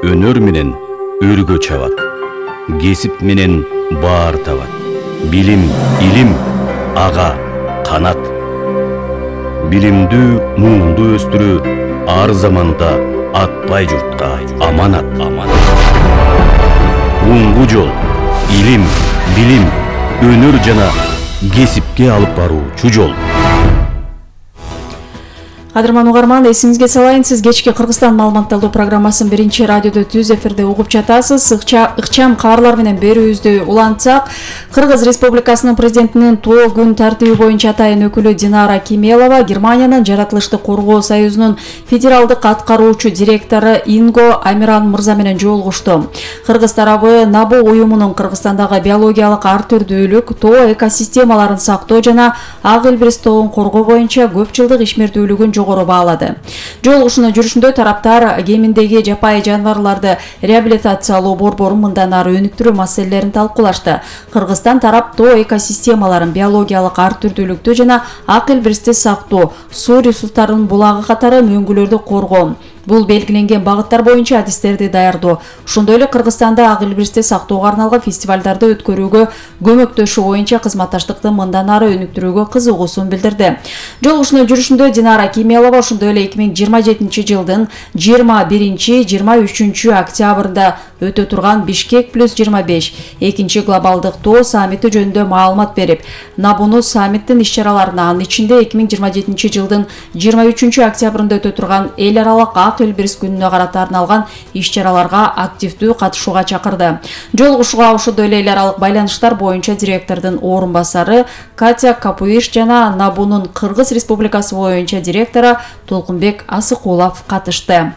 Өнөр менен өргө чабат. Кесип менен баар табат. Билим, илим, ага, канат. Билимдүү, муунду өстүрүү ар заманда атпай журтка аманат. Уңгу жол, илим, билим, өнөр жана кесипке алып баруучу жол. Кадырман угарман, эсиңизге салайын, сиз кечки Кыргызстан маалыматталуу программасын Биринчи радиодо түз эфирде угуп жатасыз. Ыкчам каарлар менен берүүбүздү улантсак, Кыргыз Республикасынын президентинин тоо күн тартиби боюнча атайын өкүлү Динара Кемелова Германиянын Жаратылыштык коргоо союзунун федералдык аткаруучу директору Инго Амиран мырза менен жолугушту. Кыргыз тарабы НАБУ уюмунун Кыргызстандагы биологиялык ар түрдүүлүк, тоо экосистемаларын сактоо жана ак илбирис тоон коргоо боюнча көп жылдык ишмердүүлүгүн жогору баалады. Жолугушуунун жүрүшүндө тараптар кеминдеги жапайы жаныбарларды реабилитациялоо борборун мындан ары өнүктүрүү маселелерин талкуулашты. Кыргызстан тарап тоо экосистемаларын, биологиялык ар түрдүүлүктү жана ак илбиристи сактоо, суу ресурстарынын булагы катары мөңгүлөрдү коргоо, бул белгиленген багыттар боюнча адистерди даярдоо, ошондой эле Кыргызстанда ак илбиристи сактоого арналган фестивалдарды өткөрүүгө көмөктөшүү боюнча кызматташтыкты мындан ары өнүктүрүүгө кызыгуусун билдирди. Жолугушуунун жүрүшүндө Динара Кемелова ошондой эле 2027 жылдын 21-23 октябрында өтө турган Бишкек плюс 25 экинчи глобалдык тоо саммити жөнүндө маалымат берип, НАБУну саммиттин иш-чараларына, анын ичинде 2027 жылдын 23 октябрында өтө турган эл аралык ак илбирис күнүнө карата арналган иш-чараларга активдүү катышууга чакырды. Жолугушууга ошондой эле эл аралык байланыштар боюнча директордун орун басары Катя Капуиш жана НАБУнун Кыргыз Республикасы боюнча директору Толкунбек Асыкулов катышты.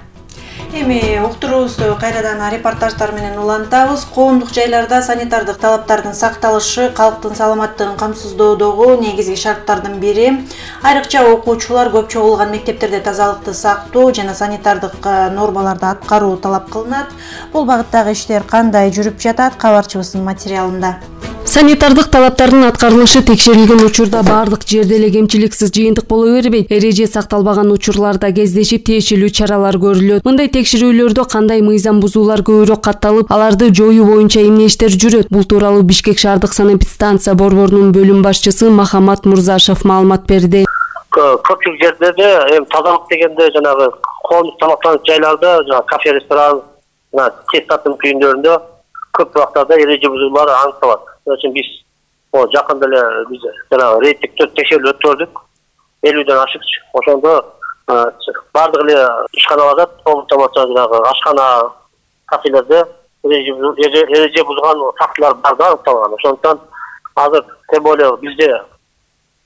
Эми уктуруубузду кайрадан репортаждар менен улантабыз. Коомдук жайларда санитардык талаптардын сакталышы калктын саламаттыгын камсыздоодогу негизги шарттардын бири. Айрыкча окуучулар көп чогулган мектептерде тазалыкты сактоо жана санитардык нормаларды аткаруу талап кылынат. Бул багыттагы иштер кандай жүрүп жатат? Кабарчыбыздын материалында. Санитардык талаптардын аткарылышы текшерилген учурда бардык жерде эле кемчиликсиз жыйынтык боло бербейт. Эреже сакталбаган учурларда кездешип тиешелүү чаралар көрүлөт. Мындай текшерүүлөрдө кандай мыйзам бузуулар көбүрөөк катталып, аларды жоюу боюнча эмне иштер жүрөт? Бул тууралуу Бишкек шаардык санэпидстанция борборунун бөлүм башчысы Махамат Мурзашев маалымат берди. Көпчүлүк жерлерде эми тазалык дегенде жанагы коомдук тамактануу жайларда, жанагы кафе, ресторан, тез татым күйүндөрүндө көп убактарда эреже бузуулар аныкталат. Ошон биз жакында эле биз жанагы рейдтик текшерүү өткөрдүк. 50ден ашык. Ошондо бардык эле ишканаларда, коомдук тамактануу жанагы ашкана, кафелерде эреже бузган фактылар бар да аныкталган. Ошондуктан азыр тем более бизде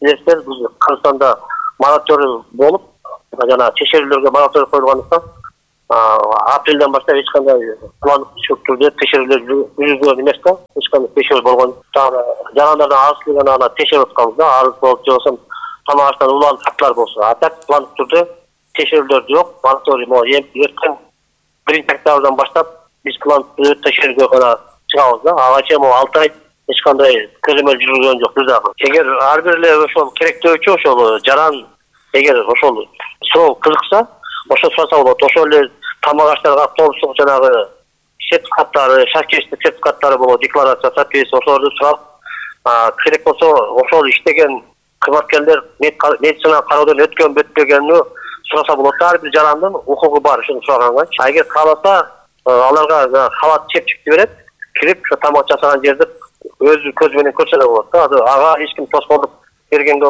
билесиздер, биз Кыргызстанда мораторий болуп, жана текшерүүлөргө мораторий коюлгандыктан апрелден баштап эч кандай пландык түрдө текшерүүлөр жүргүзүлгөн эмес да, эч кандай текшерүү болгон. Жарандардан арыздуулган аны текшерип атканбыз да, арыз болуп же болбосо тамак аштан улан фактылар болсо. А так пландык түрдө текшерүүлөр жок. Мораторий эртең 1-октябрдан баштап биз пландык түрдө текшерүүгө гана чыгабыз да. Ага чейин 6 ай эч кандай көзөмөл жүргүзгөн жок биз дагы. Эгер ар бир эле ошол керектөөчү ошол жаран эгер ошол суроо кызыкса, ошо сураса болот. Ошол эле тамак аштарга коомдук жанагы сертификаттары, шаркештик сертификаттары болот, декларация соответствие ошолорду сурап, керек болсо ошол иштеген кызматкерлер медицина кароодон өткөн өтпөгөнү сураса болот. Ар бир жарандын укугу бар ушуну сураганга. Эгер кааласа, аларга халат чепчикти берет, кирип ошо тамак жасаган жерди өзү көзү менен көрсө да болот да. Ага эч ким тоскоолдук бергенге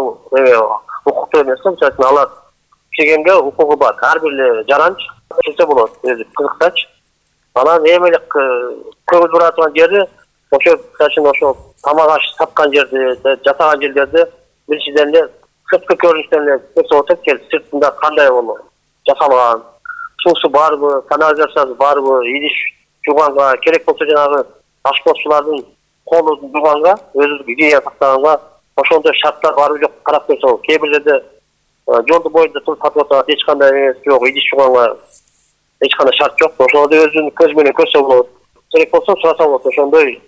укуктуу эмес да. Алар чегенге укугу бар. Ар бир эле жаранч келсе болот, өзү кызыксач. Анан эми эле көңүл буратган жери ошо ошо тамак аш саткан жерди, жасаган жерлерди биринчиден эле сырткы көрүнүштөн эле көрсө болот. Сыртында кандай болот, жасалган, суусу барбы, канализациясы барбы, идиш жууганга, керек болсо жанагы ашпозчулардын колу жууганга, өзү гигиена сактаганга ошондой шарттар барбы жок карап көрсө болот. Кээ бир жерде жолдун боюнда туруп сатып атат, эч кандай эмес жок, идиш жууганга эч кандай шарт жок. Ошону өзүнүн көзү менен көрсө болот. Керек болсо сураса болот. Ошондой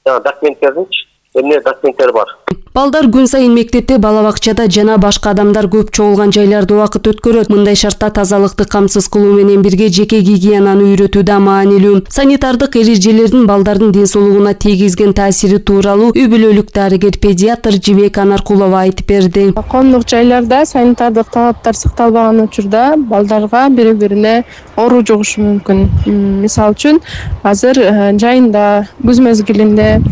документтердинчи эмне документтери бар. Балдар күн сайын мектепте, бала бакчада жана башка адамдар көп чогулган жайларда убакыт өткөрөт. Мындай шартта тазалыкты камсыз кылуу менен бирге жеке гигиенаны үйрөтүү да маанилүү. Санитардык эрежелердин балдардын ден соолугуна тийгизген таасири тууралуу үй бүлөлүк дарыгер педиатр Жибек Анаркулова айтып берди. Коомдук жайларда санитардык талаптар сакталбаган учурда балдарга бири-бирине оору жугушу мүмкүн. Мисалы үчүн, азыр жайында күз мезгилинде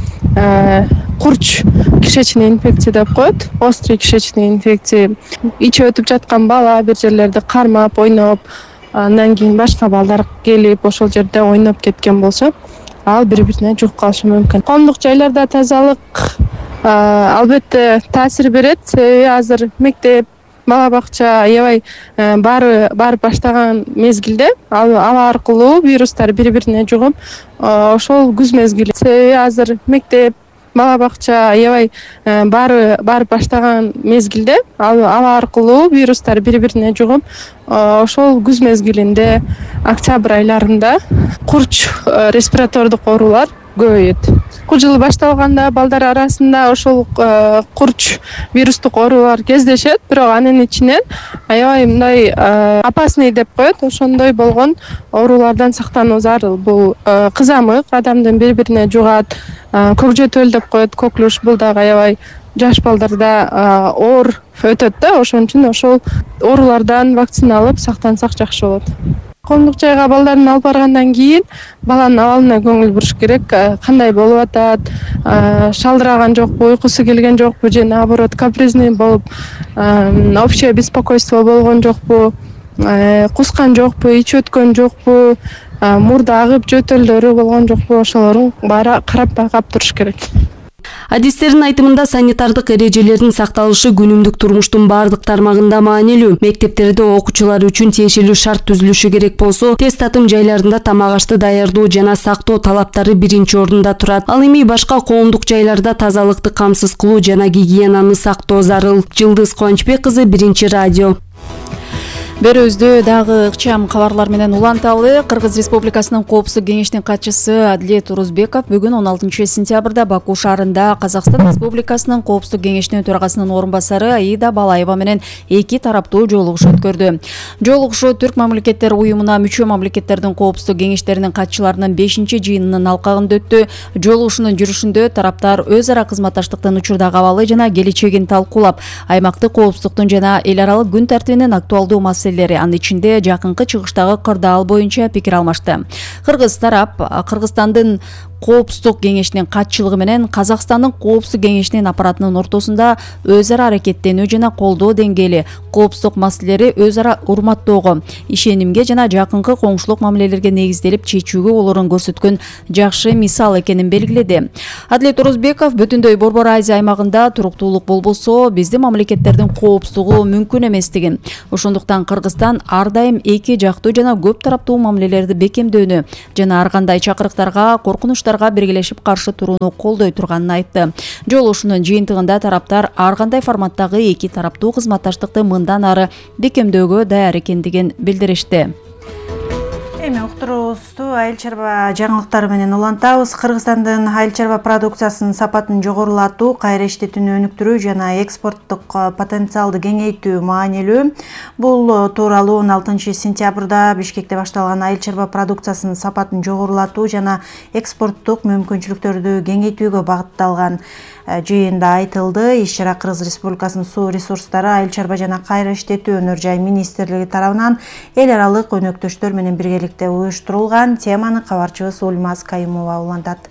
курч кишечный инфекция деп коет. Острый кишечный инфекция. Ичи өтүп жаткан бала бир жерлерди кармап, ойноп, андан кийин башка балдар келип ошол жерде ойноп кеткен болсо, ал бири-бирине жугуп калышы мүмкүн. Коомдук жайларда тазалык албетте таасир берет. Себеби азыр мектеп, бала бакча, аябай барып баштаган мезгилде ал аркылуу вирустар бири-бирине жугуп, ошол күз мезгили. Себеби азыр мектеп, бала бакча, аябай барып баштаган мезгилде ал аркылуу вирустар бири-бирине жугуп, ошол күз мезгилинде октябрь айларында курч респиратордук оорулар көбөйөт. Окуу жылы башталганда балдар арасында ошол курч вирустук оорулар кездешет, бирок анын ичинен аябай мындай опасный деп коет, ошондой болгон оорулардан сактануу зарыл. Бул кызамык адамдын бири-бирине жугат, көкжөтөл деп коет, коклюш, бул дагы аябай жаш балдарда оор өтөт да, ошон үчүн ошол оорулардан вакцина алып сактансак жакшы болот. Коомдук жайга балдарын алып баргандан кийин баланын абалына көңүл буруш керек. Кандай болуп атат, шалдыраган жокпу, уйкусу келген жокпу же наоборот капризный болуп, общее беспокойство болгон жокпу, кускан жокпу, ич өткөн жокпу, мурду агып жөтөлдөрү болгон жокпу, ошолорун баары карап байкап туруш керек. Адистердин айтымында санитардык эрежелердин сакталышы күнүмдүк турмуштун бардык тармагында маанилүү. Мектептерде окуучулар үчүн тиешелүү шарт түзүлүшү керек болсо, тест татым жайларында тамак ашты даярдоо жана сактоо талаптары биринчи орунда турат. Ал эми башка коомдук жайларда тазалыкты камсыз кылуу жана гигиенаны сактоо зарыл. Жылдыз Кубанычбек кызы, Биринчи радио. Берүүбүздү дагы ыкчам кабарлар менен уланталы. Кыргыз Республикасынын Коопсуздук кеңешинин катчысы Адилет Орузбеков бүгүн 16 сентябрда Баку шаарында Казакстан Республикасынын Коопсуздук кеңешинин төрагасынын орун басары Аида Балаева менен эки тараптуу жолугушуу өткөрдү. Жолугушуу Түрк мамлекеттер уюмуна мүчө мамлекеттердин коопсуздук кеңештеринин катчыларынын 5-жыйынынын алкагында өттү. Жолугушуунун жүрүшүндө тараптар өз ара кызматташтыктын учурдагы абалы жана келечегин талкуулап, аймактык коопсуздуктун жана эл аралык күн тартибинин актуалдуу анын ичинде жакынкы чыгыштагы кырдаал боюнча пикир алмашты. Кыргыз тарап Кыргызстандын Коопсуздук кеңешинин катчылыгы менен Казакстандын Коопсуздук кеңешинин аппаратынын ортосунда өз ара аракеттенүү жана колдоо деңгээли, коопсуздук маселелери өз ара урматтоого, ишенимге жана жакынкы коңшулук мамилелерге негизделип чечүүгө болорун көрсөткөн жакшы мисал экенин белгиледи. Адилет Орузбеков бүтүндөй Борбор Азия аймагында туруктуулук болбосо, биздин мамлекеттердин коопсуздугу мүмкүн эместигин, ошондуктан Кыргызстан ар дайым эки жактуу жана көп тараптуу мамилелерди бекемдөөнү жана ар кандай чакырыктарга, коркунучтарга биргелешип каршы турууну колдой турганын айтты. Жолугушуунун жыйынтыгында тараптар ар кандай форматтагы эки тараптуу кызматташтыкты мындан ары бекемдөөгө даяр экендигин билдиришти. Эми уктуруубузду айыл чарба жаңылыктары менен улантабыз. Кыргызстандын айыл чарба продукциясынын сапатын жогорулатуу, кайра иштетүүнү өнүктүрүү жана экспорттук потенциалды кеңейтүү маанилүү. Бул тууралуу 16 сентябрда Бишкекте башталган айыл чарба продукциясынын сапатын жогорулатуу жана экспорттук мүмкүнчүлүктөрдү кеңейтүүгө багытталган жыйында айтылды. Иш-чара Кыргыз Республикасынын суу ресурстары, айыл чарба жана кайра иштетүү өнөр жай министрлиги тарабынан эл аралык өнөктөштөр менен биргеликте уюштурулган. Теманы кабарчыбыз Ульмаз Кайымова улантат.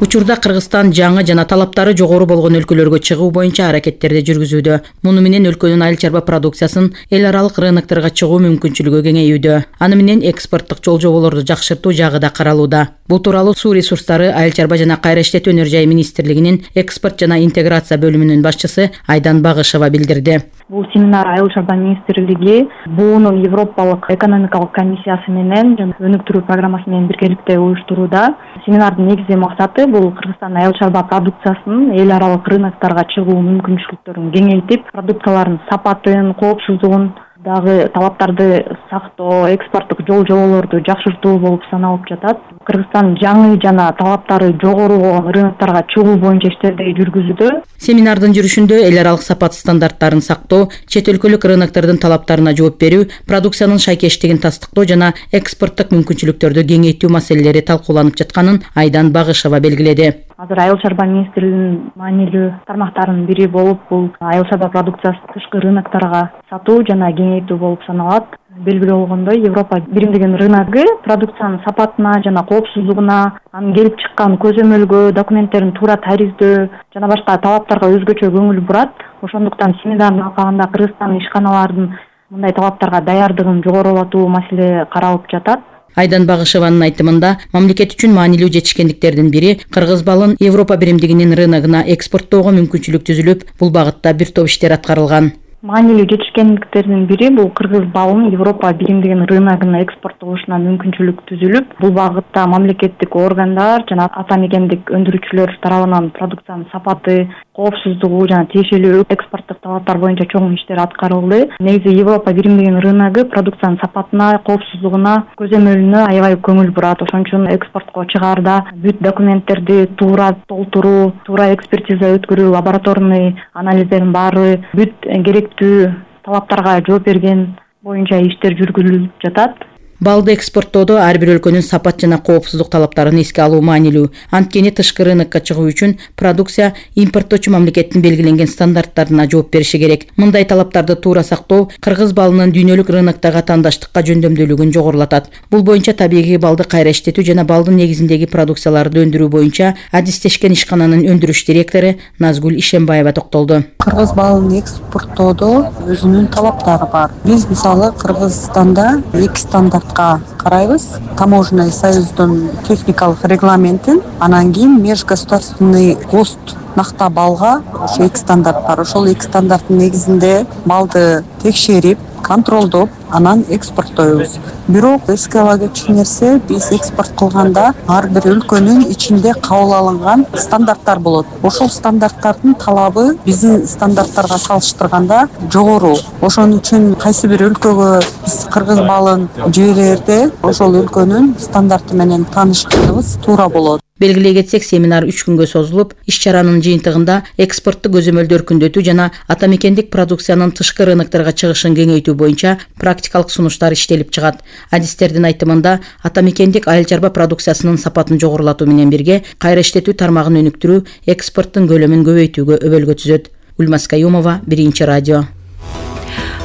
Учурда Кыргызстан жаңы жана талаптары жогору болгон өлкөлөргө чыгуу боюнча аракеттерди жүргүзүүдө. Муну менен өлкөнүн айыл чарба продукциясын эл аралык рынокторго чыгуу мүмкүнчүлүгү кеңейүүдө. Аны менен экспорттук жол жоболорду жакшыртуу жагы да каралууда. Бул тууралуу суу ресурстары, айыл чарба жана кайра иштетүү өнөр жай министрлигинин экспорт жана интеграция бөлүмүнүн башчысы Айдан Багышева билдирди. Бул семинар айыл чарба министрлиги буунун Европалык экономикалык комиссиясы менен жана өнүктүрүү программасы менен биргеликте уюштурууда. Семинардын негизги максаты бул Кыргызстан айыл чарба продукциясынын эл аралык рынокторго чыгуу мүмкүнчүлүктөрүн кеңейтип, продукциялардын сапатын, коопсуздугун дагы талаптарды сактоо, экспорттук жол жоболорду жакшыртуу болуп саналып жатат. Кыргызстан жаңы жана талаптары жогору болгон рынокторго чыгуу боюнча иштерди жүргүзүүдө. Семинардын жүрүшүндө эл аралык сапат стандарттарын сактоо, чет өлкөлүк рыноктордун талаптарына жооп берүү, продукциянын шайкештигин тастыктоо жана экспорттук мүмкүнчүлүктөрдү кеңейтүү маселелери талкууланып жатканын Айдан Багышева белгиледи. Азыр айыл чарба министрлигинин маанилүү тармактарынын бири болуп, бул айыл чарба продукциясын тышкы рынокторго сатуу жана кеңейтүү болуп саналат. Белгилүү болгондой, Европа биримдигинин рыногу продукциянын сапатына жана коопсуздугуна, анын келип чыккан көзөмөлгө, документтерин туура тариздөө жана башка талаптарга өзгөчө көңүл бурат. Ошондуктан семинардын алкагында Кыргызстандын ишканаларынын мындай талаптарга даярдыгын жогорулатуу маселе каралып жатат. Айдан Багышеванын айтымында, мамлекет үчүн маанилүү жетишкендиктердин бири кыргыз балын Европа биримдигинин рыногуна экспорттоого мүмкүнчүлүк түзүлүп, бул багытта бир топ иштер аткарылган. Маанилүү жетишкендиктердин бири бул кыргыз балын Европа биримдигинин рыногуна экспорттолушуна мүмкүнчүлүк түзүлүп, бул багытта мамлекеттик органдар жана ата мекендик өндүрүүчүлөр тарабынан продукциянын сапаты, коопсуздугу жана тиешелүү экспорттук талаптар боюнча чоң иштер аткарылды. Негизи Европа биримдигинин рыногу продукциянын сапатына, коопсуздугуна, көзөмөлүнө аябай көңүл бурат. Ошон үчүн экспортко чыгаарда бүт документтерди туура толтуруу, туура экспертиза өткөрүү, лабораторный анализдердин баары бүт керектүү талаптарга жооп берген боюнча иштер жүргүзүлүп жатат. Балды экспорттоодо ар бир өлкөнүн сапат жана коопсуздук талаптарын эске алуу маанилүү. Анткени тышкы рынокко чыгуу үчүн продукция импорттоочу мамлекеттин белгиленген стандарттарына жооп бериши керек. Мындай талаптарды туура сактоо кыргыз балынын дүйнөлүк рыноктогу атаандаштыкка жөндөмдүүлүгүн жогорулатат. Бул боюнча табигый балды кайра иштетүү жана балдын негизиндеги продукцияларды өндүрүү боюнча адистешкен ишкананын өндүрүш директору Назгүл Ишембаева токтолду. Кыргыз балын экспорттоодо өзүнүн талаптары бар. Биз мисалы Кыргызстанда эки стандарт карайбыз. Таможенный союздун техникалык регламентин, анан кийин межгосударственный ГОСТ накта балга ошо эки стандарт бар. Ошол эки стандарттын негизинде балды текшерип, контролдоп анан экспорттойбуз. Бирок эске ала кетчү нерсе, биз экспорт кылганда ар бир өлкөнүн ичинде кабыл алынган стандарттар болот. Ошол стандарттардын талабы биздин стандарттарга салыштырганда жогору. Ошон үчүн кайсы бир өлкөгө биз кыргыз балын жиберерде ошол өлкөнүн стандарты менен таанышканыбыз туура болот. Белгилей кетсек, семинар 3 күнгө созулуп, иш-чаранын жыйынтыгында экспортту көзөмөлдү өркүндөтүү жана атамекендик продукциянын тышкы рыноктарга чыгышын кеңейтүү боюнча практикалык сунуштар иштелип чыгат. Адистердин айтымында, атамекендик айыл чарба продукциясынын сапатын жогорулатуу менен бирге кайра иштетүү тармагын өнүктүрүү экспорттун көлөмүн көбөйтүүгө өбөлгө түзөт. Ульмас Каюмова, Биринчи радио.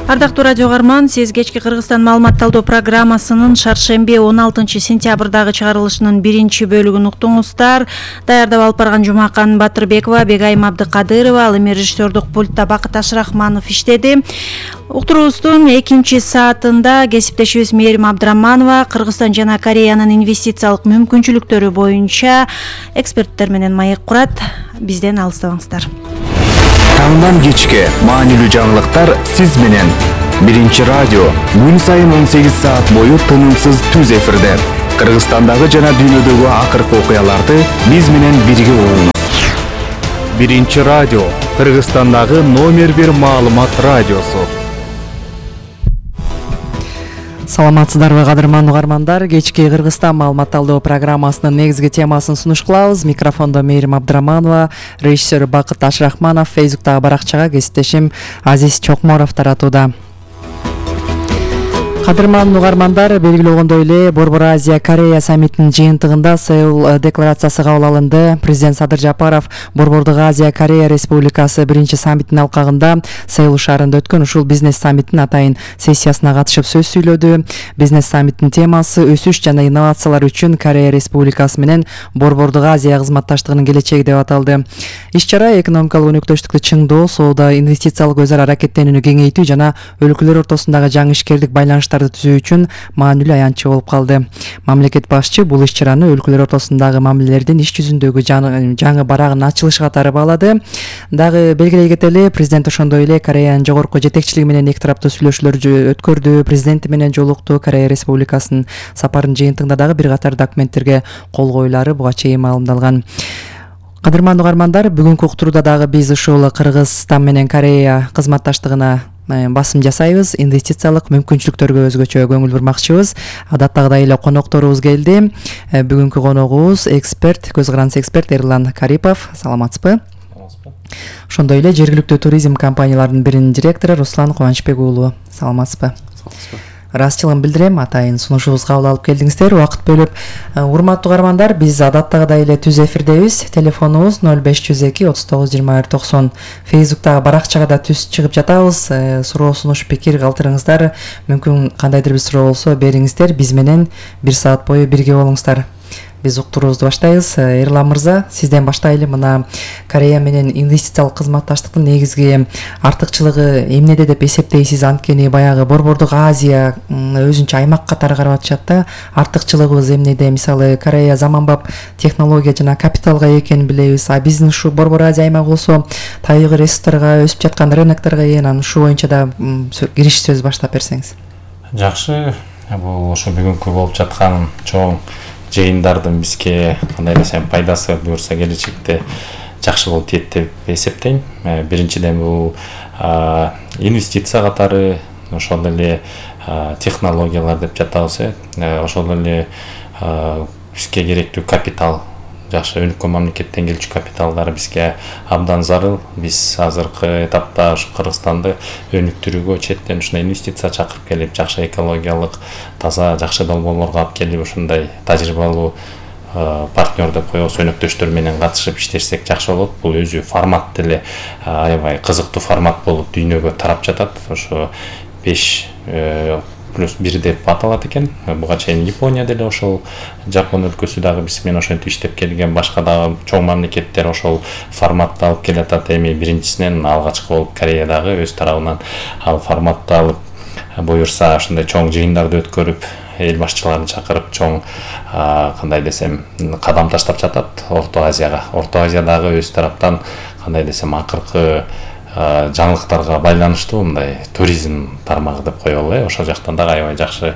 Ардактуу радио каарман, сиз кечки Кыргызстан маалымат талдоо программасынын шаршемби 16 сентябрдагы чыгарылышынын биринчи бөлүгүн уктуңуздар. Даярдап алып барган Жумакан Батырбекова, Бегайым Абдыкадырова, ал эми режиссердук пультта Бакыт Ашрахманов иштеди. Уктуруубуздун экинчи саатында кесиптешибиз Мээрим Абдыраманова Кыргызстан жана Кореянын инвестициялык мүмкүнчүлүктөрү боюнча эксперттер менен маек курат. Бизден алыстабаңыздар. Таңдан кечке маанилүү жаңылыктар сиз менен. Биринчи радио күн сайын 18 саат бою тынымсыз түз эфирде. Кыргызстандагы жана дүйнөдөгү акыркы окуяларды биз менен бирге угуңуз. Биринчи радио Кыргызстандагы номер 1 маалымат радиосу. Саламатсыздарбы кадырман угармандар, кечки Кыргызстан маалымат талдоо программасынын негизги темасын сунуш кылабыз. Микрофондо Мээрим Абдыраманова, режиссер Бакыт Ашрахманов, Фейсбуктагы баракчага кесиптешим Азиз Чокморов таратууда. Кадырман угармандар, белгилегендей эле Борбор Азия Корея саммитинин жыйынтыгында Сеул декларациясы кабыл алынды. Президент Садыр Жапаров Борбордук Азия Корея Республикасы биринчи саммитинин алкагында Сеул шаарында өткөн ушул бизнес саммитинин атайын сессиясына катышып сөз сүйлөдү. Бизнес саммитинин темасы өсүш жана инновациялар үчүн Корея Республикасы менен Борбордук Азия кызматташтыгынын келечеги деп аталды. Иш-чара экономикалык өнөктөштүктү чыңдоо, соода, инвестициялык өзара аракеттенүүнү кеңейтүү жана өлкөлөр ортосундагы жаңы ишкерлик байланыштар түзүү үчүн маанилүү аянтчы болуп калды. Мамлекет башчы бул иш-чараны өлкөлөр ортосундагы мамилелердин иш жүзүндөгү жаңы барагынын ачылышы катары баалады. Дагы белгилей кетели, президент ошондой эле Кореянын жогорку жетекчилиги менен эки тараптуу сүйлөшүүлөр өткөрдү, президенти менен жолукту. Корея Республикасынын сапарынын жыйынтыгында дагы бир катар документтерге кол коюлары буга чейин маалымдалган. Кадырман угармандар, бүгүнкү уктурууда дагы биз ушул Кыргызстан менен Корея кызматташтыгына басым жасайбыз, инвестициялык мүмкүнчүлүктөргө өзгөчө көңүл бурмакчыбыз. Адаттагыдай эле конокторубуз келди. Бүгүнкү коногубуз эксперт, көз карандысы эксперт Эрлан Карипов. Саламатсызбы? Ошондой эле жергиликтүү туризм компанияларынын биринин директору Руслан Кубанычбек уулу. Саламатсызбы? Ыраазычылыгын билдирем, атайын сунушубузга кабыл алып келдиңиздер, убакыт бөлүп. Урматтуу угармандар, биз адаттагыдай эле түз эфирдебиз. Телефонубуз 0502 39 21 90. Фейсбуктагы баракчага да түз чыгып жатабыз. Суроо, сунуш, пикир калтырыңыздар. Мүмкүн кандайдыр бир суроо болсо бериңиздер. Биз менен 1 саат бою бирге болуңуздар. Биз уктуруубузду баштайбыз. Эрлан мырза, сизден баштайлы. Мына Корея менен инвестициялык кызматташтыктын негизги артыкчылыгы эмнеде деп эсептейсиз? Анткени баягы Борбордук Азия өзүнчө аймак катары карап атышат да. Артыкчылыгыбыз эмнеде? Мисалы, Корея заманбап технология жана капиталга экенин билебиз. А биздин ушу Борбор Азия аймагы болсо табигый ресурстарга, өсүп жаткан рынокторго ээ. Анан ушу боюнча да кириш сөз баштап берсеңиз. Жакшы. Бул ошо бүгүнкү болуп жаткан чоң жыйындардын бизге кандай десем пайдасы буюрса келечекте жакшы болуп тиет деп эсептейм. Биринчиден бул инвестиция катары, ошол эле технологиялар деп жатабыз, ошол эле бизге керектүү капитал, жакшы өнүккөн мамлекеттен келчү капиталдар бизге абдан зарыл. Биз азыркы этапта ушу Кыргызстанды өнүктүрүүгө четтен ушундай инвестиция чакырып келип, жакшы экологиялык, таза, жакшы долбоорлорго алып келип, ушундай тажрыйбалуу партнер деп коебуз, өнөктөштөр менен катышып иштешсек жакшы болот. Бул өзү формат деле аябай кызыктуу формат болуп дүйнөгө тарап жатат. Ошо 5+1 деп аталат экен. Буга чейин Япония деле ошол Жапон өлкөсү дагы биз менен ошентип иштеп келген, башка дагы чоң мамлекеттер ошол форматты алып келатат. Эми биринчисинен алгачкы болуп Корея дагы өз тарабынан ал форматты алып, буюрса ушундай чоң жыйындарды өткөрүп, эл башчыларын чакырып чоң кандай десем кадам таштап жатат Орто Азияга. Орто Азия дагы өз тараптан кандай десем акыркы жаңылыктарга байланыштуу мындай туризм тармагы деп коелу. Ошол жактан дагы аябай жакшы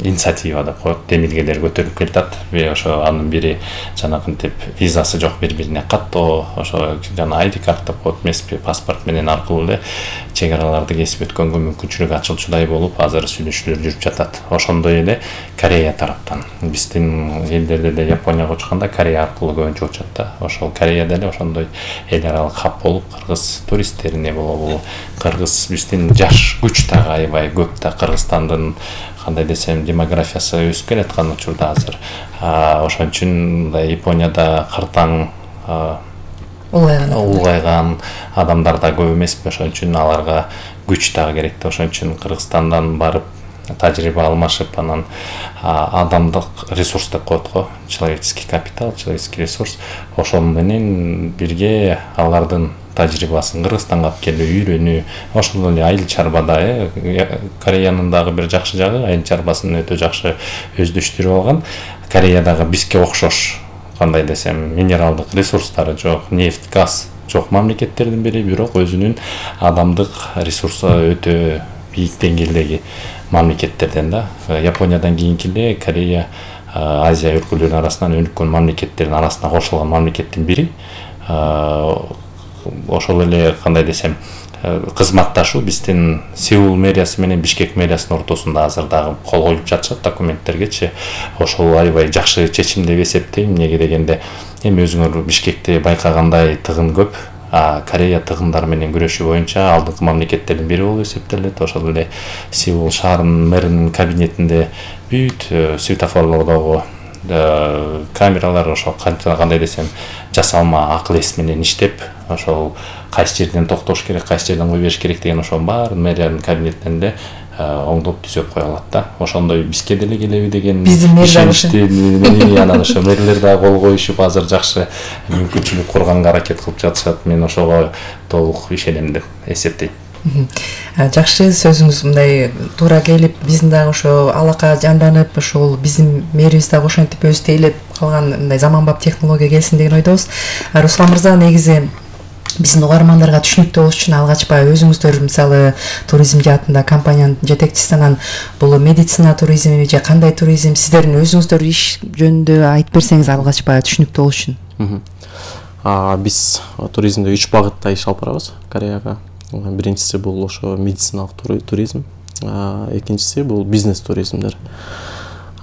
инициатива деп коет. Демилгелер көтөрүлүп келатат. Ошо анын бири жанагынтип визасы жок бири-бирине каттоо, ошо жана ID карт деп коет, эмеспи, паспорт менен аркылуу эле чек араларды кесип өткөнгө мүмкүнчүлүк ачылчудай болуп, азыр сүйлөшүүлөр жүрүп жатат. Ошондой эле Корея тараптан, биздин элдерде деле Японияга учканда Корея аркылуу көбүнчө учат да. Ошол Кореяда эле ошондой эл аралык хаб болуп, кыргыз туристтерине болобу, кыргыз биздин жаш күч дагы аябай көп да. Кыргызстандын кандай десем демографиясы өсүп келаткан учурда азыр. Ошон үчүн мындай Японияда кыртаң улгайган адамдар да көп эмеспи. Ошон үчүн аларга күч дагы керек да. Ошон үчүн Кыргызстандан барып тажрыйба алмашып, анан адамдык ресурс деп коет го, человеческий капитал, человеческий ресурс, ошол менен бирге алардын тажрыйбасын Кыргызстанга алып келип үйрөнүү, ошол эле айыл чарбада Кореянын дагы бир жакшы жагы, айыл чарбасын өтө жакшы өздөштүрүп алган. Кореядагы бизге окшош, кандай десем, минералдык ресурстары жок, нефть, газ жок мамлекеттердин бири, бирок өзүнүн адамдык ресурсу өтө бийик деңгээлдеги мамлекеттерден да. Япониядан кийинки эле Корея Азия өлкөлөрүнүн арасынан өнүккөн мамлекеттердин арасына кошулган мамлекеттин бири. Ошол эле кандай десем, кызматташуу биздин Сеул мэриясы менен Бишкек мэриясынын ортосунда азыр дагы кол коюп жатышат документтергечи. Ошол аябай жакшы чечим деп эсептейм. Эмнеге дегенде, эми өзүңөр Бишкекте байкагандай тыгын көп. Корея тыгындар менен күрөшүү боюнча алдыңкы мамлекеттердин бири болуп эсептелет. Ошол эле Сеул шаарынын мэринин кабинетинде бүт светофорлордогу камералар ошол кандай десем жасалма акыл эс менен иштеп, ошол кайсы жерден токтош керек, кайсы жерден кой бериш керек деген ошол баары мэриянын кабинетинен эле оңдоп түзөп кое алат да. Ошондой бизге деле келеби деген ишеничти анан ошо мэрлер дагы кол коюшуп азыр жакшы мүмкүнчүлүк курганга аракет кылып жатышат. Мен ошого толук ишенем деп эсептейм. Жакшы, сөзүңүз мындай туура келип, биздин дагы ошо алака жанданып, ошол биздин мэрибиз дагы ошентип өзү тейлеп калган мындай заманбап технология келсин деген ойдобуз. Руслан мырза, негизи биздин угармандарга түшүнүктүү болуш үчүн алгач баягы өзүңүздөр мисалы туризм жаатында компаниянын жетекчиси, анан бул медицина туризми же кандай туризм, сиздердин өзүңүздөр иш жөнүндө айтып берсеңиз алгач баягы түшүнүктүү болуш үчүн. Биз туризмде 3 багытта иш алып барабыз Кореяга. Биринчиси бул ошо медициналык туризм, экинчиси бул бизнес туризмдер.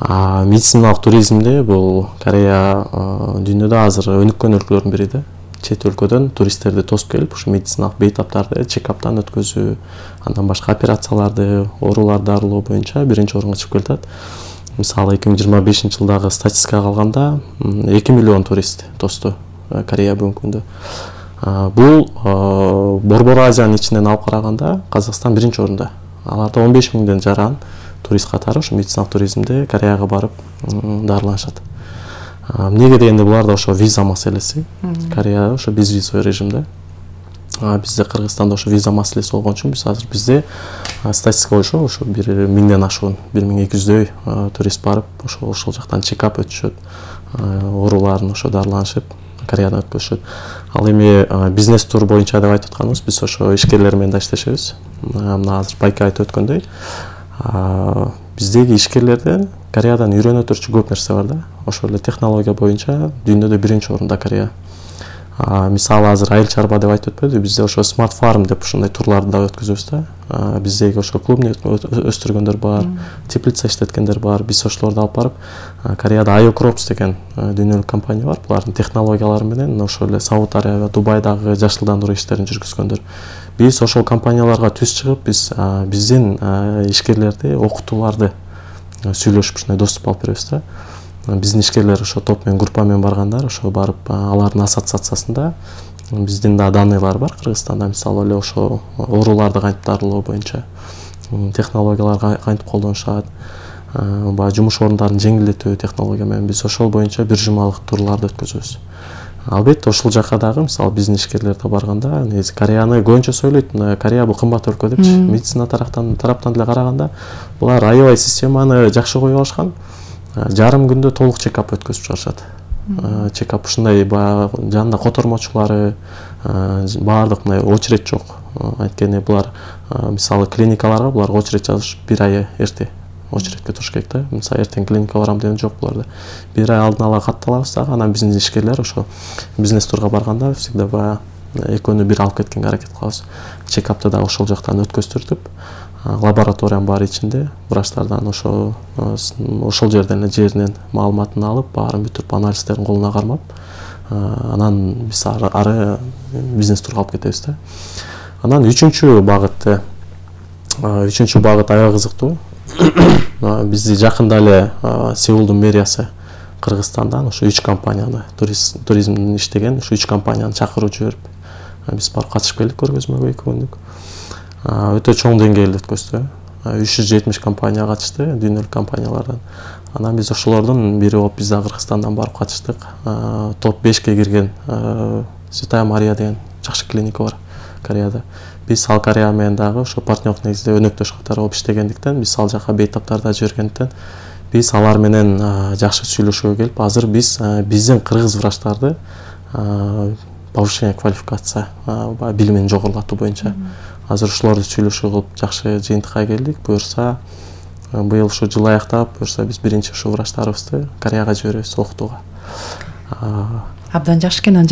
Медициналык туризмде бул Корея дүйнөдө азыр өнүккөн өлкөлөрдүн бири да. Чет өлкөдөн туристтерди тосуп келип, ушу медициналык бейтаптарды чекаптан өткөзүү, андан башка операцияларды, ооруларды дарылоо боюнча биринчи орунга чыгып келатат. Мисалы 2025-жылдагы статистикага алганда 2 миллион турист тосту Корея бүгүнкү күндө. Бул Борбор Азиянын ичинен алып караганда Казакстан биринчи орунда. Аларда 15 миңден жаран турист катары ушу медициналык туризмде Кореяга барып дарыланышат. Эмнеге дегенде буларда ошо виза маселеси. Корея ошо безвизовый режимде. Бизде Кыргызстанда ошо виза маселеси болгон үчүн биз азыр бизде статистика боюнча ошо 1 миңден ашуун, 1200дөй турист барып, ошол жактан чекап өтүшөт. Ооруларын ошо дарыланышып Кореядан өткөзүшөт. Ал эми бизнес тур боюнча деп айтып атканыбыз, биз ошо ишкерлер менен да иштешебиз. Мына азыр Байка айтып өткөндөй, биздеги ишкерлерден Кореядан үйрөнө турчу көп нерсе бар да. Ошол эле технология боюнча дүйнөдө биринчи орунда Корея. Мисалы азыр айыл чарба деп айтып өтпөдү, бизде ошо смарт фарм деп ушундай турларды да өткөзөбүз да. Биздеги ошо клубный өстүргөндөр бар, теплица иштеткендер бар. Биз ошолорду алып барып, Кореяда Ayocrops деген дүйнөлүк компания бар. Булардын технологиялары менен ошол эле Сауд Арабия, Дубайдагы жашылдандыруу иштерин жүргүзгөндөр. Биз ошол компанияларга түз чыгып, биз биздин ишкерлерди, окутууларды сүйлөшүп ушундай доступ алып беребиз да. Биздин ишкерлер ошо топ менен, группа менен баргандар, ошо барып алардын ассоциациясында биздин да даныйлар бар Кыргызстанда, мисалы эле ошо ооруларды кантип дарылоо боюнча технологиялар кантип колдонушат, баягы жумуш орундарын жеңилдетүү технология менен биз ошол боюнча бир жумалык турларды өткөзөбүз. Албетте ошол жака дагы мисалы биздин ишкерлер да барганда, негизи Кореяны көбүнчө сөйлөйт, Корея бул кымбат өлкө депчи. Медицина тараптан деле караганда булар аябай системаны жакшы коюп алышкан. Жарым күндө толук чекап өткөзүп чыгарышат. Чекап ушундай жанында котормочулары, баардык мындай очередь жок. Анткени булар мисалы клиникаларга буларга очередь жазыш 1 ай эрте очередке туруш керек да. Мисалы эртең клиникага барам деген жок буларда. 1 ай алдын ала катталабыз дагы, анан биздин ишкерлер ошо бизнес турга барганда всегда баягы экөөнү бир алып кеткенге аракет кылабыз. Чекапты дагы ошол жактан өткөздүртүп, лабораториянын баары ичинде врачтардан ошол жерден эле жеринен маалыматын алып, баарын бүтүрүп анализдерин колуна кармап, анан биз ары бизнес турга алып кетебиз да. Анан үчүнчү багыт аябай кызыктуу. Бизди жакында эле Сеулдун мэриясы Кыргызстандан ошо 3 компанияны, туризмдин иштеген ошо 3 компанияны чакырып жиберип, биз барып катышып келдик көргөзмөгө 2 күндүк. Өтө чоң деңгээлде өткөздү. 370 компания катышты, дүйнөлүк компаниялардан. Анан биз ошолордун бири болуп биз да Кыргызстандан барып катыштык. Топ 5ке кирген Святая Мария деген жакшы клиника бар Кореяда. Биз ал Корея менен дагы ошо партнерлык негизде өнөктөш катары болуп иштегендиктен, биз ал жака бейтаптарда жибергендиктен, биз алар менен жакшы сүйлөшүүгө келип, азыр биз биздин кыргыз врачтарды повышение квалификация, билимин жогорулатуу боюнча азыр ушуларды сүйлөшүү кылып жакшы жыйынтыкка келдик. Буюрса быйыл ушу жыл аяктап, буюрса биз биринчи ушу врачтарыбызды Кореяга жиберебиз окутууга. Абдан жакшы экен.